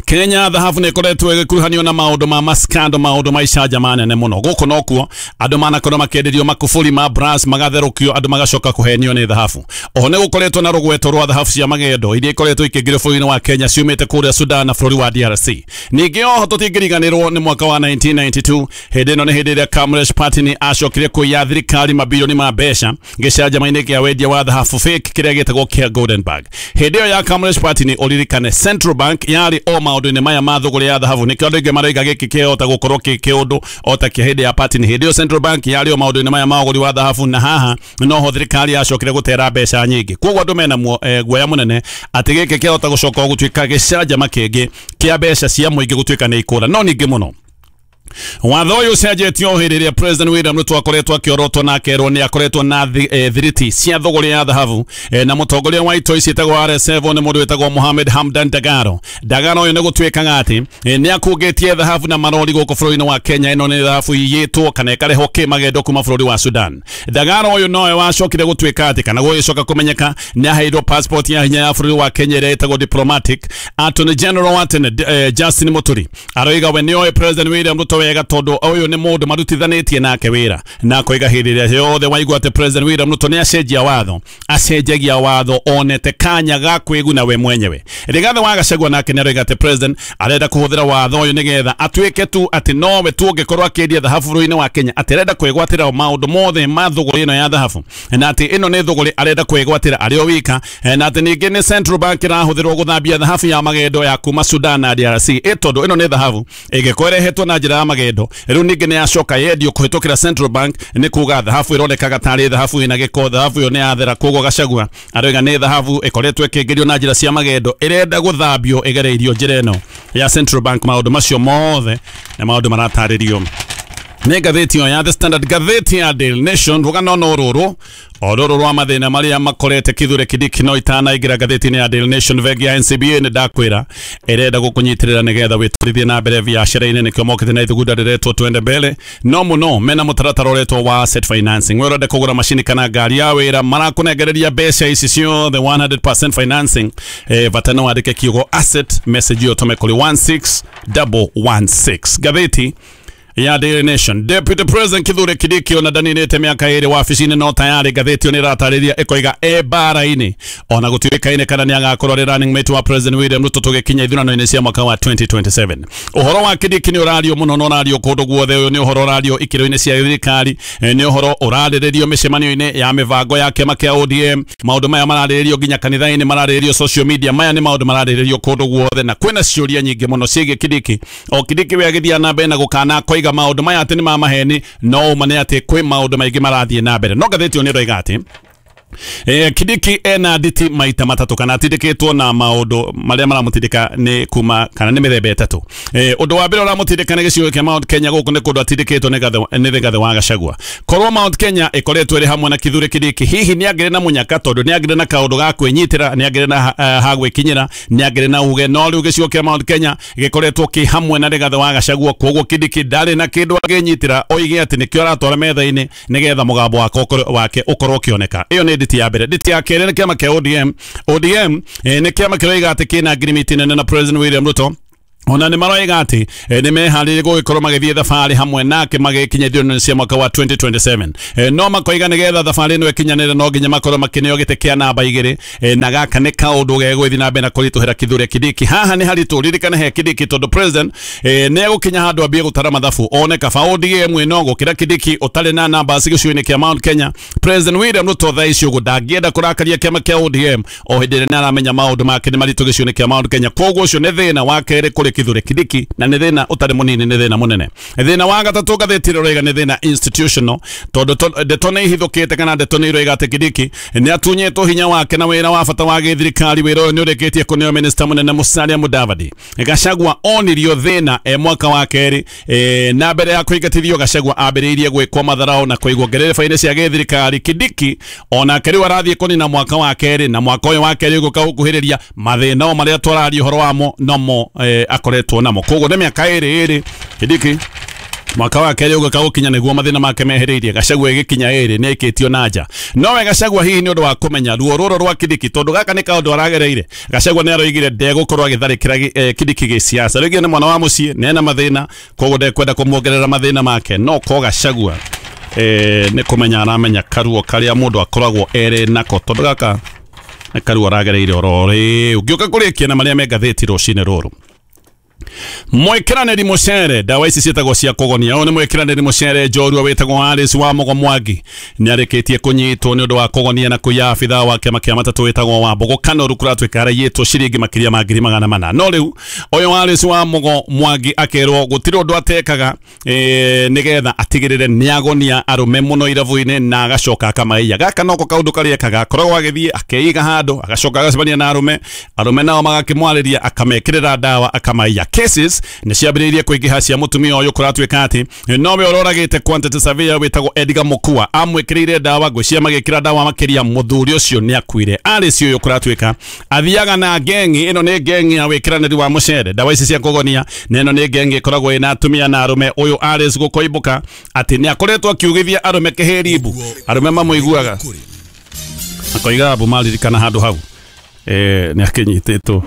Kenya thahabu nĩ ĩkoretwo ĩgĩkuruhanio na maũndũ ma maskando, maũndũ ma icanjama nene mũno. Gũkũ nokuo andũ manakorwo makĩenderio makuburi ma brass magatherũkio, andũ magacoka kũhenio nĩ thahabu. Oho nĩ gũkoretwo na rũgweto rwa thahabu cia magendo iria ikoretwo ikĩingĩrio bũrũri-inĩ wa Kenya ciumĩte kũrĩa Sudan na bũrũri wa D R C. Ningĩ oho tũtingĩriganĩrwo nĩ mwaka wa nineteen ninety-two, hĩndĩ ĩno nĩ hĩndĩ ĩrĩa Kamlesh Pattini acokire kũiya thirikari mabirioni ma mbeca gĩcanjama-inĩ kĩa wendia wa thahabu fake kĩrĩa gĩtagwo kĩa Golden Bag. Hĩndĩ ĩyo ya Kamlesh Pattini, ũririkane Central Bank yarĩ o maũndũ-inĩ maya ma thũgũrĩ ya thahabu. Nĩkĩo andũ aingĩ maroiga gĩkĩ kĩhota gũkorwo kĩ kĩũndũ o ta kĩa hĩndĩ ya Pattini. Hĩndĩ ĩyo Central Bank yarĩ o maũndũ-inĩ maya ma ũgũri wa thahabu, na haha noho thirikari yacokire gũtera mbeca nyingĩ. Koguo andũ mena guoya mũnene atĩ gĩkĩ kĩhota gũcoka gũtuĩka gĩcanjama kĩngĩ kĩa mbeca cia mũingĩ gũtuĩka nĩ ikũra. No ningĩ mũno watho ũyũ ũcenjetio hĩndĩ ĩrĩa President William Ruto akoretwo akĩorotwo na akerwo nĩ akoretwo na thiriti cia thũgũrĩ ya thahabu e, na mũtongoria wa itoi ciĩtagwo R S F nĩ mũndũ wĩtagwo Mohamed Hamdan Dagalo. Dagalo ũyũ nĩ gũtuĩkaga atĩ e, nĩ akũngĩtie thahabu na marori gũkũ bũrũri-inĩ wa Kenya. Ĩno nĩ thahabu iyĩtwo kana ĩkarehwo kĩmagendo kuma bũrũri wa Sudan. Dagalo ũyũ nowe wacokire gũtuĩka atĩ kana gũgĩcoka kũmenyeka nĩ aheirwo passport ya hinya ya bũrũri wa Kenya ĩrĩa ĩtagwo diplomatic. Attorney General wa tene eh, Justin Muturi aroiga we nĩoĩ President William Ruto wega tondũ ũyũ nĩ mũndũ marutithanĩtie nake wĩra, na koiga hĩndĩ ĩrĩa yothe waigua atĩ President William Ruto nĩ acenjia watho, acenjagia watho onete kanya ga kwĩguna we mwenyewe. Rigathi wa Gachagua nake nĩ aroiga atĩ President arenda kũhũthĩra watho ũyũ nĩgetha atuĩke tu atĩ nowe tu ũngĩkorwo akĩendia thahabu bũrũri-inĩ wa Kenya, atĩ arenda kwĩgwatĩra maũndũ mothe ma thũgũrĩ ĩno ya thahabu, na atĩ ĩno nĩ thũgũrĩ arenda kwĩgwatĩra arĩ o wika, na atĩ ningĩ nĩ Central Bank ĩrahũthĩrwo gũthambia thahabu ya magendo ya kuma Sudan na D R C. Ĩ tondũ ĩno nĩ thahabu ĩngĩkorwo ĩrehetwo na njĩra ya magendo, rĩu ningĩ nĩ yacoka yendio kũhĩtũkĩra Central Bank, nĩ kuga thahabu ĩronekaga tarĩ thahabu ĩna gĩko, thahabu ĩyo nĩ yathera. Koguo Gachagua aroiga nĩ thahabu ĩkoretwo ĩkĩingĩrio na njĩra cia magendo, ĩrenda gũthambio ĩgereirio njĩra ĩno ya Central Bank. Maũndũ macio mothe nĩ maũndũ maratarĩrio nĩ ngathĩti ĩyo ya The Standard. Ngathĩti ya Daily Nation, rũgano no rũrũ o rũrũ rwa mathĩna marĩa makorete Kithure Kindiki. No itanaingĩra ngathĩti-inĩ ya Daily Nation, bengi ya N C B A nĩ ndakwĩra ĩrenda gũkũnyitĩrĩra nĩgetha wĩtwarithie na mbere biacara-inĩ. Nĩkĩo mokĩte na ithugunda rĩretwo Twende Mbele. No mũno mena mũtaratara ũretwo wa asset financing. We ũrenda kũgũra macini kana ngari ya wĩra, marakũnengereria mbeca ici ciothe one hundred percent financing. Eh, bata no wandĩke kiugo asset message ĩyo ũtũme kũrĩ one six one one six. Ngathĩti ya Daily Nation. Deputy President Kithure Kindiki ona ndaninĩte mĩaka ĩrĩ wabici-inĩ no tayarĩ ngathĩti ĩyo nĩĩratarĩria ĩkoiga e mbara-inĩ ona gũtuĩkaine kana nĩagakorwo arĩ running mate wa President William Ruto tũgĩkinya ithurano-inĩ cia mwaka wa twenty twenty-seven. Ũhoro wa Kindiki nĩ ũrario mũno na ũrario kũndũ guothe. Ũyũ nĩ ũhoro ũrario ikĩro-inĩ cia thirikari, nĩ ũhoro ũrarĩrĩrio mĩcemanio-inĩ ya mĩbango ya kĩama kĩa O D M. Maũndũ maya mararĩrĩrio nginya kanitha-inĩ, mararĩrĩrio social media. Maya nĩ maũndũ mararĩrĩrio kũndũ guothe na kwĩna ciũria nyingĩ mũno ciĩgiĩ Kindiki. O Kindiki we agĩthiĩ na mbere na gũkana koiga maũndũ maya atĩ nĩ ma maheni, no ũma nĩ atĩ kwĩ maũndũ maingĩ marathiĩ na mbere. No ngathĩti ĩyo nĩ ĩroiga atĩ Eh, Kindiki ena nditi maita matatu kana atindĩkĩtwo na maũndũ marĩa maramũtindĩka nĩ kuma kana nĩ mĩthemba ĩtatũ. Eh, ũndũ wa mbere ũramũtindĩka nĩ gĩcigo kĩa Mount Kenya. Gũkũ nĩ kũndũ atindĩkĩtwo nĩ Rigathĩ wa Gachagua. Korwo Mount Kenya ĩkoretwo ĩrĩ hamwe na Kithure Kindiki, hihi nĩ angĩrĩ na mũnyaka, tondũ nĩ angĩrĩ na kaũndũ ga kwĩnyitĩra, nĩ angĩrĩ na uh, ha gwĩkinyĩra, nĩ angĩrĩ na uge. No rĩu gĩcigo kĩa Mount Kenya gĩkoretwo kĩ hamwe na Rigathĩ wa Gachagua, koguo Kindiki ndarĩ na kĩndũ angĩnyitĩra oige atĩ nĩkĩo aratwara metha-inĩ nĩgetha mũgambo wake ũkorwo ũkĩoneka. Ĩyo nĩ nditi ya mbere. Nditi ya kerĩ nĩ kĩama kĩa O D M. O D M eh, nĩ kĩama kĩroiga atĩ kĩna ngirimiti nene na President William Ruto. Ona nĩ maroiga atĩ nĩ meharĩirie gũgĩkorwo magĩthiĩ thabarĩ hamwe nake magĩkinya ithurano cia mwaka wa twenty twenty-seven. E, no makoiga nĩgetha thabarĩ ĩno ĩkinyanĩre no nginya makorwo makĩneo gĩtĩ kĩa namba igĩrĩ. E, na gaka nĩ kaũndũ gegũthiĩ na mbere na kũritũhĩra Kithure Kindiki. Haha nĩ haritũ, ririkana he Kindiki tondũ president e, nĩ egũkinya handũ ambie gũtara mathabu one kaba O D M ĩno gũkĩra Kindiki ũtarĩ na namba gĩcigo-inĩ kĩa Mount Kenya. President William Ruto thaa ici ũguo ndangĩenda kũrakaria kĩama kĩa O D M o hĩndĩ ĩrĩa nĩaramenya maũndũ make nĩ maritũ gĩcigo-inĩ kĩa Mount Kenya. Koguo ũcio nĩ thĩna wa kerĩ kũrĩ Kithure Kindiki, na nĩ thĩna ũtarĩ mũnini, nĩ thĩna mũnene. Thĩna wa gatatũ ngathĩti ĩroiga nĩ thĩna institutional, tondũ ndeto nĩ ihithũkĩte kana ndeto nĩ iroiga atĩ Kindiki nĩ atunyĩtwo hinya wake na wĩra wa bata wa gĩthirikari. Wĩra ũyũ nĩ ũrĩkĩtie kũneo minister mũnene Musalia Mudavadi. Gachagua onirio thĩna e mwaka wa kerĩ, e, na mbere ya kũingatithio Gachagua ambĩrĩirie gwĩkwo matharao na kũigwo ngerereba-inĩ cia gĩthirikari. Kindiki onake rĩu arathiĩ kũnina mwaka wa kerĩ, na mwaka ũyũ wa kerĩ ũgũka gũkuhĩrĩria mathĩna o marĩa twararia ũhoro wamo nomo e, akoretwo namo. Koguo nĩ mĩaka ĩrĩ ĩrĩ Kindiki mwaka wa kerĩ ũgũka gũkinya nĩguo mathĩna make mehereirie. Gachagua ĩgĩkinya ĩrĩ nĩ ĩkĩtio na nja. Nowe Gachagua hihi nĩ ũndũ wa kũmenya ruo rũrũ rwa Kindiki, tondũ gaka nĩ kaũndũ aragereire. Gachagua nĩ aroigire ndegũkorwo agĩtharĩkĩra eh, Kindiki gĩsiasa. Rĩngĩ nĩ mwana wa mũciĩ na ena mathĩna, koguo ndekwenda kũmuongerera mathĩna make. No ko Gachagua eh, nĩ kũmenya aramenya karuo karĩa mũndũ akoragwo erĩ nako, tondũ gaka nĩ karuo aragereire oro rĩu. Ngĩũka kũrĩkia na marĩa me ngathĩti rũcinĩ rũrũ. Mwĩkĩranĩri mũcere, ndawa ici ciĩtagwo cia kũgonia. Ũyũ nĩ mwĩkĩranĩri mũcere njorua wĩtagwo Alice wa Mũgo Mwangi. Nĩarĩkĩtie kũnyitwo nĩ ũndũ wa kũgonia na kũiya abithaa wa kĩama kĩa matatũ wĩtagwo wa Mbogo Kanoru kũratuĩka araiyĩtwo ciringi makĩria ma ngiri magana mana. No rĩu ũyũ Alice wa Mũgo Mwangi akerwo gũtirĩ ũndũ atekaga e, nĩgetha atigĩrĩre nĩagonia arũme mũno irabu-inĩ na agacoka akamaiya. Gaka noko kaũndũ karĩa ekaga, akoragwo agĩthiĩ akeiga handũ agacoka agacemania na arũme, arũme nao magakĩmwarĩria akamekĩrĩra ndawa akamaiya. Cases nĩ ciambĩrĩirie kũingĩha cia mũtumia ũyũ kũratuĩka atĩ nowe ũroragĩte quantity surveyor wĩtagwo Edgar Mukua amwĩkĩrĩire ndawa, ngwĩciria magĩkĩra ndawa makĩria mũthuri ũcio nĩ akuire. Alice ũyũ kũratuĩka athiaga na ngengi, ĩno nĩ ngengi ya wĩkĩranĩri wa mũcere, ndawa ici cia kũgonia, na ĩno nĩ ngengi ĩkoragwo ĩna atumia na arũme. Ũyũ Alice gũkoimbũka atĩ nĩ akoretwo akiugithia arũme kĩhĩrimbu, arũme mamũiguaga akoiga abu maririkana handũ hau eh, nĩ akĩnyitĩtwo.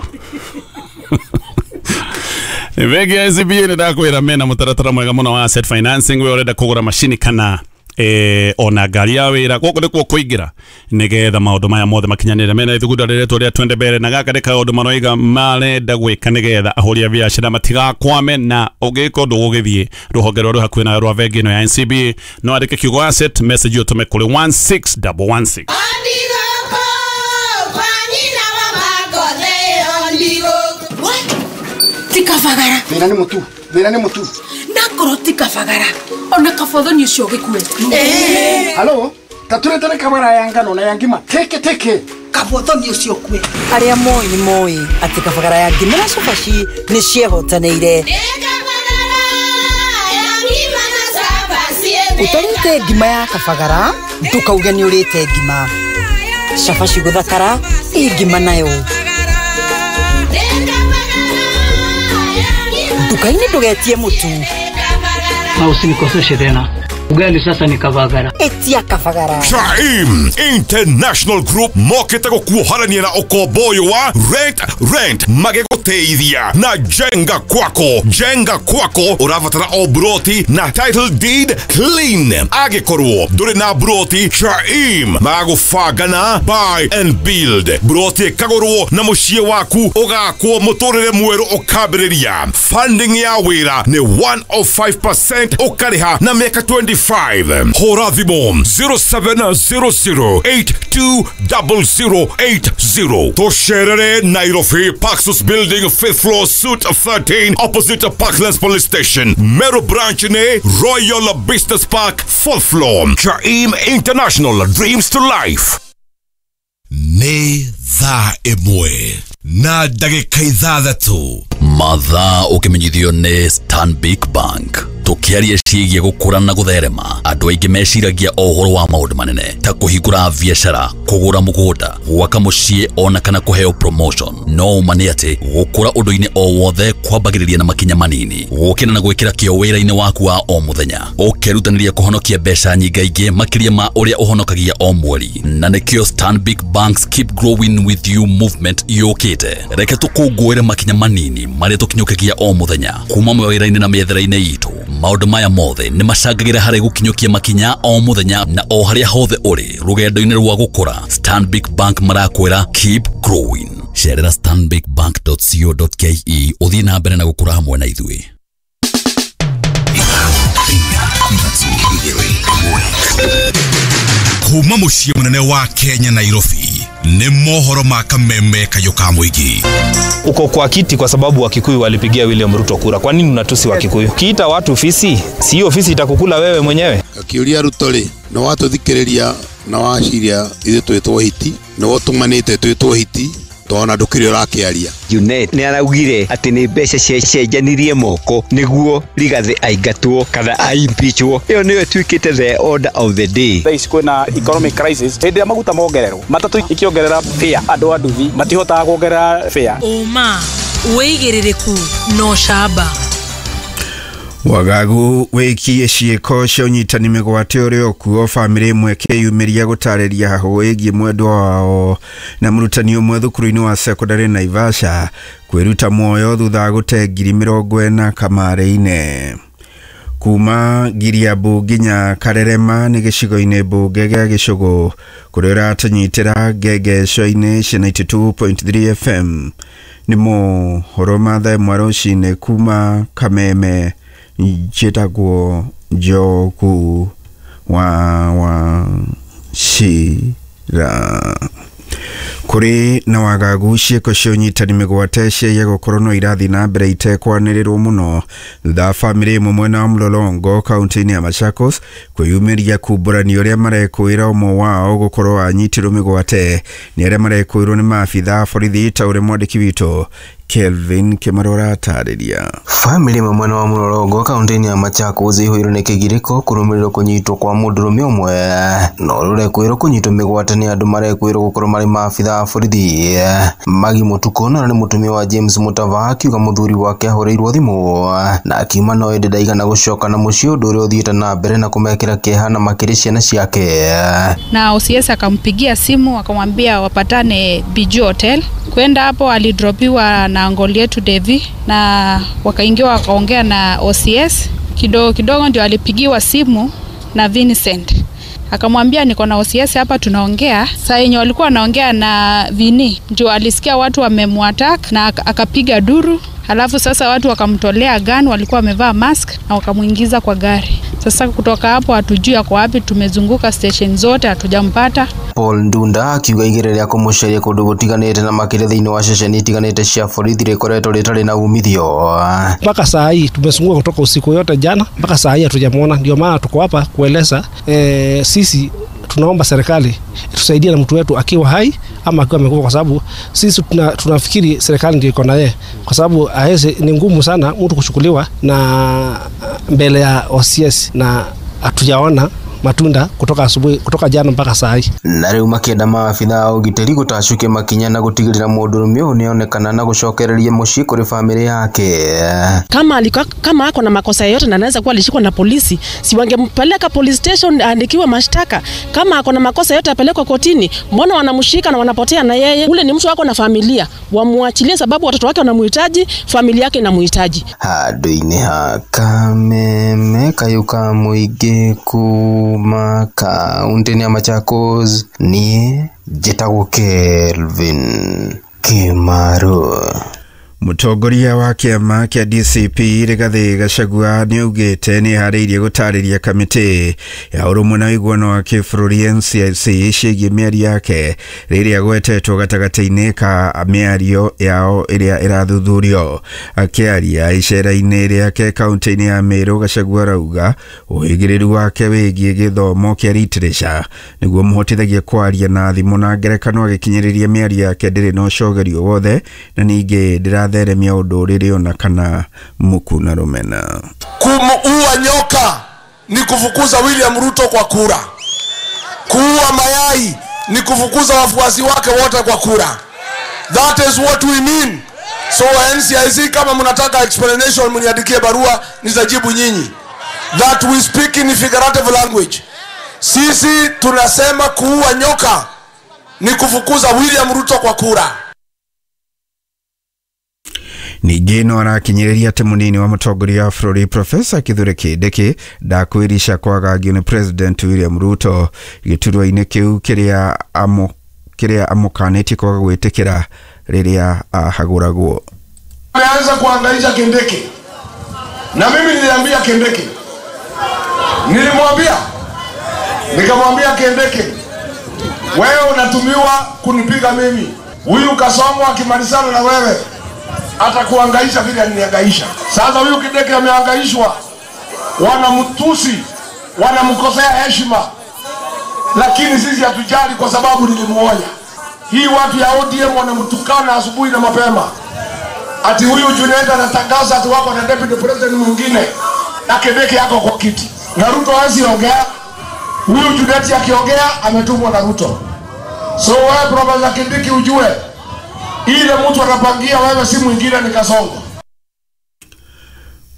Bengi ya N C B A nĩ ndakwĩra mena mũtaratara mwega mũno wa asset financing. We ũrenda kũgũra macini kana eh, ona ngari ya wĩra, gũkũ nĩkuo kũingĩra nĩgetha maũndũ maya mothe makinyanĩre. Mena ithugunda rĩretwo rĩa Twende Mbere, na gaka nĩ kaũndũ maroiga marenda gwĩka nĩgetha ahũri a biacara matigakwame, na ũngĩka ũndũ ũgũgĩthiĩ rũhonge rwa rwĩ hakuhĩ nawe rwa bengi ĩno ya N C B A, no andĩke kiugo asset message ũtũme kũrĩ one six double one six. Tikabagara. Thĩna nĩ mũtu, thĩna nĩ mũtu. Nakorwo tikabagara. Ona kabothoni ũcio ũgĩkue. Halo, tatũretere kabara ya ngano na ya ngima. Teke teke. Kabothoni ũcio ũkue. Arĩa moĩ nĩ moĩ atĩ kabagara ya ngima na cabaci nĩ ciehotanĩire. Ũtarĩte ngima ya kabagara, ndũkauge nĩ ũrĩte ngima. Cabaci gũthakara, ĩ ngima nayo. Nduka-inĩ ndũgetie mũtu. Na usinikoseshe tena. Ugali sasa ni Kabagara. Etia Kabagara. Shaim International Group mokete gũkuoharania na ũkombo ũyũ wa rent rent magĩgũteithia na jenga kwako. Jenga kwako ũrabatara o broti na title deed clean. Angĩkorwo ndũrĩ na broti, Shaim magũbanga na buy and build. Broti ĩkagũrwo na mũciĩ waku ũgakwo mũtũrĩre mwerũ ũkambĩrĩria. Funding ya wĩra nĩ one oh five percent ũkarĩha na mĩaka twenty-five. Hũra thimũ zero seven zero zero eight two zero zero eight zero. Tũcerere Nairobi, Paxos Building, fifth floor, Suite thirteen, opposite Parklands Police Station. Meru Branch ne Royal Business Park, fourth floor. Chaim International, dreams to life. Nĩ thaa ĩmwe na ndagĩka ithathatũ. Mathaa ũkĩmenyithio nĩ Stanbic Bank. Tũkĩaria ciĩgiĩ gũkũra na gũtherema, andũ aingĩ meciragia o ũhoro wa maũndũ manene ta kũhingũra biacara, kũgũra mũgũnda, gwaka mũciĩ ona kana kũheo promotion. No ũma nĩ atĩ gũkũra ũndũ-inĩ o wothe kwambagĩrĩria na makinya manini, gũkĩra na gwĩkĩra kĩo wĩra-inĩ waku wa o mũthenya, ũkerutanĩria kũhonokia mbeca nyingaingĩ makĩria ma ũrĩa ũhonokagia o mweri. Na nĩkĩo Stanbic Bank's Keep Growing With You movement yũkĩte. Reke tũkũngũĩre makinya manini marĩa tũkinyũkagia o mũthenya kuma mawĩra-inĩ na mĩethere-inĩ itũ. Maũndũ maya mothe nĩ macangagĩra harĩ gũkinyũkia makinya o mũthenya na o harĩa hothe ũrĩ rũgendo-inĩ rwa gũkũra. Stanbic Bank marakwĩra keep growing. Cerera stanbic bank dot co dot ke ũthiĩ na mbere na gũkũra hamwe na ithuĩ. Kuma mũciĩ mũnene wa Kenya Nairobi nĩ mohoro ma kameme kayũ ka mũingĩ. Uko kwa kiti kwa sababu Wakikuyu walipigia William Ruto kura. Kwa nini unatusi Wakikuyu? Kiita watu ofisi, si hiyo ofisi itakukula wewe mwenyewe. Akiuria Ruto ri, no watũthikĩrĩria na waciria ithuĩ twĩtwo hiti, no ũtũmanĩte twĩtwo hiti, tona ndũkĩrĩ ũrakĩaria. Junet nĩ araugire atĩ nĩ mbeca ciacenjanirie moko nĩguo Rigathi aingatwo kana aimpeachwo. Ĩyo nĩyo ĩtuĩkĩte the order of the day. Thaa ici kwĩna economic crisis, hĩndĩ ĩrĩa maguta mongererwo matatũ ikĩongerera fare, andũ a nduthi matihotaga kuongerera fare. Ũma, wĩigĩrĩrĩku na ũcamba. Wagagu wĩkie ciĩko cia ũnyitani mĩgwate ũrĩa ũkuo bamĩrĩ ĩmwe ĩkĩyumĩria gũtarĩria hahũ ĩgiĩ mwendwa wao na mũrutani ũmwe thukuru-inĩ wa sekondarĩ Naivasha kwĩruta muoyo thutha wa gũte ngiri mĩrongo ĩna kamarĩ-inĩ. Kuma Giriambu nginya Karerema nĩ gĩcigo-inĩ mbunge gĩa Gĩcũgũ kũrĩa ũratũnyitĩra ngengeco-inĩ cia ninety two point three F M. Nĩ mohoro ma thaa ĩmwe rũcinĩ kuma Kameme. Njĩtagwo Njogu wa Wachira. Kũrĩ na wagagu ciĩko cia ũnyitani mĩgwate ciaiya gũkorwo no irathiĩ na mbere itekwanĩrĩrwo mũno thutha wa bamĩrĩ ĩmwe mwena wa Mlolongo kaunti-inĩ ya Machakos kwĩyumĩria kumbũrania ũrĩa marekũĩra ũmwe wao gũkorwo anyitirwo mĩgwate nĩ arĩa marekũĩrwo nĩ maabitha a borithi ta ũrĩa mwandĩki witũ Kelvin Kimarora atarĩria. Famĩlĩ ĩmwe mwena wa Mlolongo kaunti-inĩ ya Machakos ĩihũirwo nĩ kĩgirĩko kũrũmĩrĩrwo kũnyitwo kwa mũndũrũme ũmwe na ũrĩa ũrekũĩrwo kũnyitwo mĩgwate nĩ andũ marekũĩrwo gũkorwo marĩ maabitha a borithi. Magi Mũtukũ na nĩ mũtumia wa James Mutava akiuga mũthuri wake ahũrĩirwo thimũ na akiuma no ĩndĩ ndaigana gũcoka na mũciĩ, ũndũ ũrĩa ũthiĩte na mbere na kũmekĩra kĩeha na makĩria ciana ciake. Na O C S akampigia simu akamwambia wapatane B G Hotel. Kwenda hapo alidropiwa na ngoli yetu Devi na wakaingia wakaongea na O C S. Kidogo kidogo ndio alipigiwa simu na Vincent. Akamwambia niko na O C S hapa tunaongea. Saa yenye walikuwa wanaongea na Vini ndio alisikia watu wamemwattack na akapiga duru. Halafu sasa watu wakamtolea gun, walikuwa wamevaa mask na wakamuingiza kwa gari. Sasa kutoka hapo hatujui ako wapi, tumezunguka station zote hatujampata. Paul Ndunda akiuga igĩrĩ rĩa kũmũcaria kũndũ gũtiganĩte na makĩria thĩinĩ wa ceceni itiganĩte cia borithi rĩkoretwo rĩtarĩ na umithio. Mpaka saa hii tumezunguka kutoka usiku yote jana mpaka saa hii hatujamuona, ndio maana tuko hapa kueleza e, sisi tunaomba serikali tusaidie na mtu wetu akiwa hai ama akiwa amekufa, kwa sababu sisi tuna, tunafikiri serikali ndio iko na yeye, kwa sababu haiwezi, ni ngumu sana mtu kuchukuliwa na mbele ya O C S na hatujaona matunda kutoka asubuhi, kutoka jana mpaka saa hii. Na rĩu makĩenda maabitha a ũgitĩri gũtacuke makinya na gũtigĩrĩra mũndũrũme ũyũ nĩonekana na gũcokereria mũciĩ kũrĩ bamĩrĩ yake. Kama alikuwa, kama ako na makosa yote na anaweza kuwa alishikwa na polisi, si wangempeleka police station aandikiwe mashtaka? Kama ako na makosa yote apelekwe kotini. Mbona wanamshika na wanapotea na yeye? Ule ni mtu wako na familia, wamuachilie sababu watoto wake wanamuhitaji, familia yake inamuhitaji. Handũ-inĩ ha Kameme kayũ ka mũingĩ kuma kaunti-inĩ ya Machakos, niĩ njĩtagwo Kelvin Kimaru. Mũtongoria wa kĩama kĩa D C P Rigathĩ Gachagua nĩaugĩte nĩeharĩirie gũtarĩria kamĩtĩ ya ũrũmwe na ũiguano wa kĩbũrũri N C I C ciĩgiĩ mĩario yake rĩrĩa gwetetwo gatagatĩ-inĩ ka mĩario yao ĩrĩa ĩrathuthurio. Akĩaria icera-inĩ rĩake kaunti-inĩ ya Meru, Gachagua arauga ũhĩgĩrĩru wake wĩgiĩ gĩthomo kĩa literature nĩguo mũhotithagie kwaria na thimũ na ngerekano agĩkinyĩrĩria mĩario yake ndĩrĩ na ũcogerio wothe na ningĩ ndĩra theremia ũndũrĩrĩ ona kana muku na rũmena. Kumuua nyoka ni kufukuza William Ruto kwa kura. Kuua mayai ni kufukuza wafuasi wake wote kwa kura. That is what we mean. So N C I C, kama mnataka explanation mniandikie barua nitajibu nyinyi. That we speak in figurative language. Sisi tunasema kuua nyoka ni kufukuza William Ruto kwa kura. Ningĩ no arakinyĩrĩria atĩ mũnini wa mũtongoria wa bũrũri Profesa Kithure Kindiki ndakwĩrica kwagagio nĩ President William Ruto gĩturwa-inĩ kĩu kĩrĩa amũ kĩrĩa amũkanĩtie kwaga gwĩtĩkĩra rĩrĩa ahagũragwo. Ameanza kuhangaisha Kindiki, na mimi niliambia Kindiki, nilimwambia, nikamwambia Kindiki, wewe unatumiwa kunipiga mimi, huyu Kasongo akimalizana na wewe atakuhangaisha vile alinihangaisha. Sasa huyu Kindiki amehangaishwa, wanamtusi, wanamkosea heshima, lakini sisi hatujali kwa sababu nilimuonya. Hii watu ya O D M wanamtukana asubuhi na mapema, ati huyu Junet anatangaza ati wako na deputy president mwingine na Kindiki yako kwa kiti, na Ruto hawezi ongea. Huyu Junet akiongea ametumwa na Ruto. So wewe Profesa Kindiki ujue ile mtu anapangia wewe si mwingine ni Kasongo.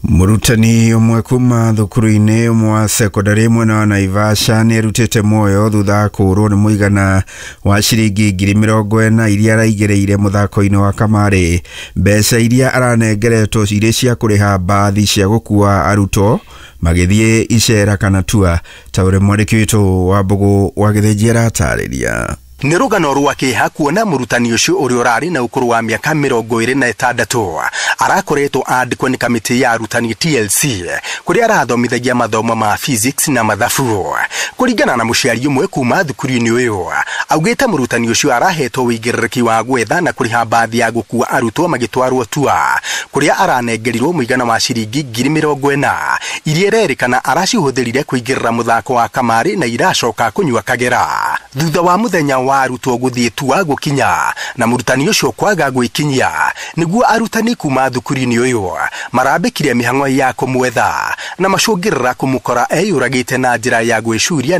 Mũrutani ũmwe kuma thukuru-inĩ ũmwe wa sekondari mwena wa Naivasha nĩerutĩte muoyo thutha wa kũũrwo nĩ mũigana wa ciringi ngiri mĩrongo ĩna iria araigĩrĩire mũthako-inĩ wa kamarĩ. Mbeca iria aranengeretwo irĩ cia kũrĩha mbathi cia gũkua arutwo magĩthiĩ icera kana tua, ta ũrĩa mwandĩki witũ wa Mbũgũ wa Gĩthĩnji aratarĩria. Nĩ rũgano rwa kĩeha kuona mũrutani ũcio ũrĩa ũrarĩ na ũkũrũ wa mĩaka mĩrongo ĩrĩ na ĩtandatũ arakoretwo andĩkwo nĩ kamĩtĩ ya arutani T L C kũrĩa arathomithagia mathomo ma physics na mathabu. Kũringana na mũciari ũmwe kuma thukuru-inĩ ũyũ, augĩte mũrutani ũcio arahetwo wĩigĩrĩrĩki wa gwetha na kũrĩha mbathi ya gũkua arutwo magĩtwarwo tua kũrĩa aranengerirwo mũigana wa ciringi ngiri mĩrongo ĩna iria ĩrerĩkana aracihũthĩrire kũingĩrĩra mũthako wa kamarĩ na iracoka kũnyua kagera. Thutha wa mũthenya wa arutwo gũthiĩ tua gũkinya na mũrutani ũcio kwaga gwĩkinyia, nĩguo arutani kuma thukuru-inĩ ũyũ marambĩkire mĩhang'o ya kũmwetha na macũngĩrĩra kũmũkora eyũragĩte na njĩra ya gwĩcuria.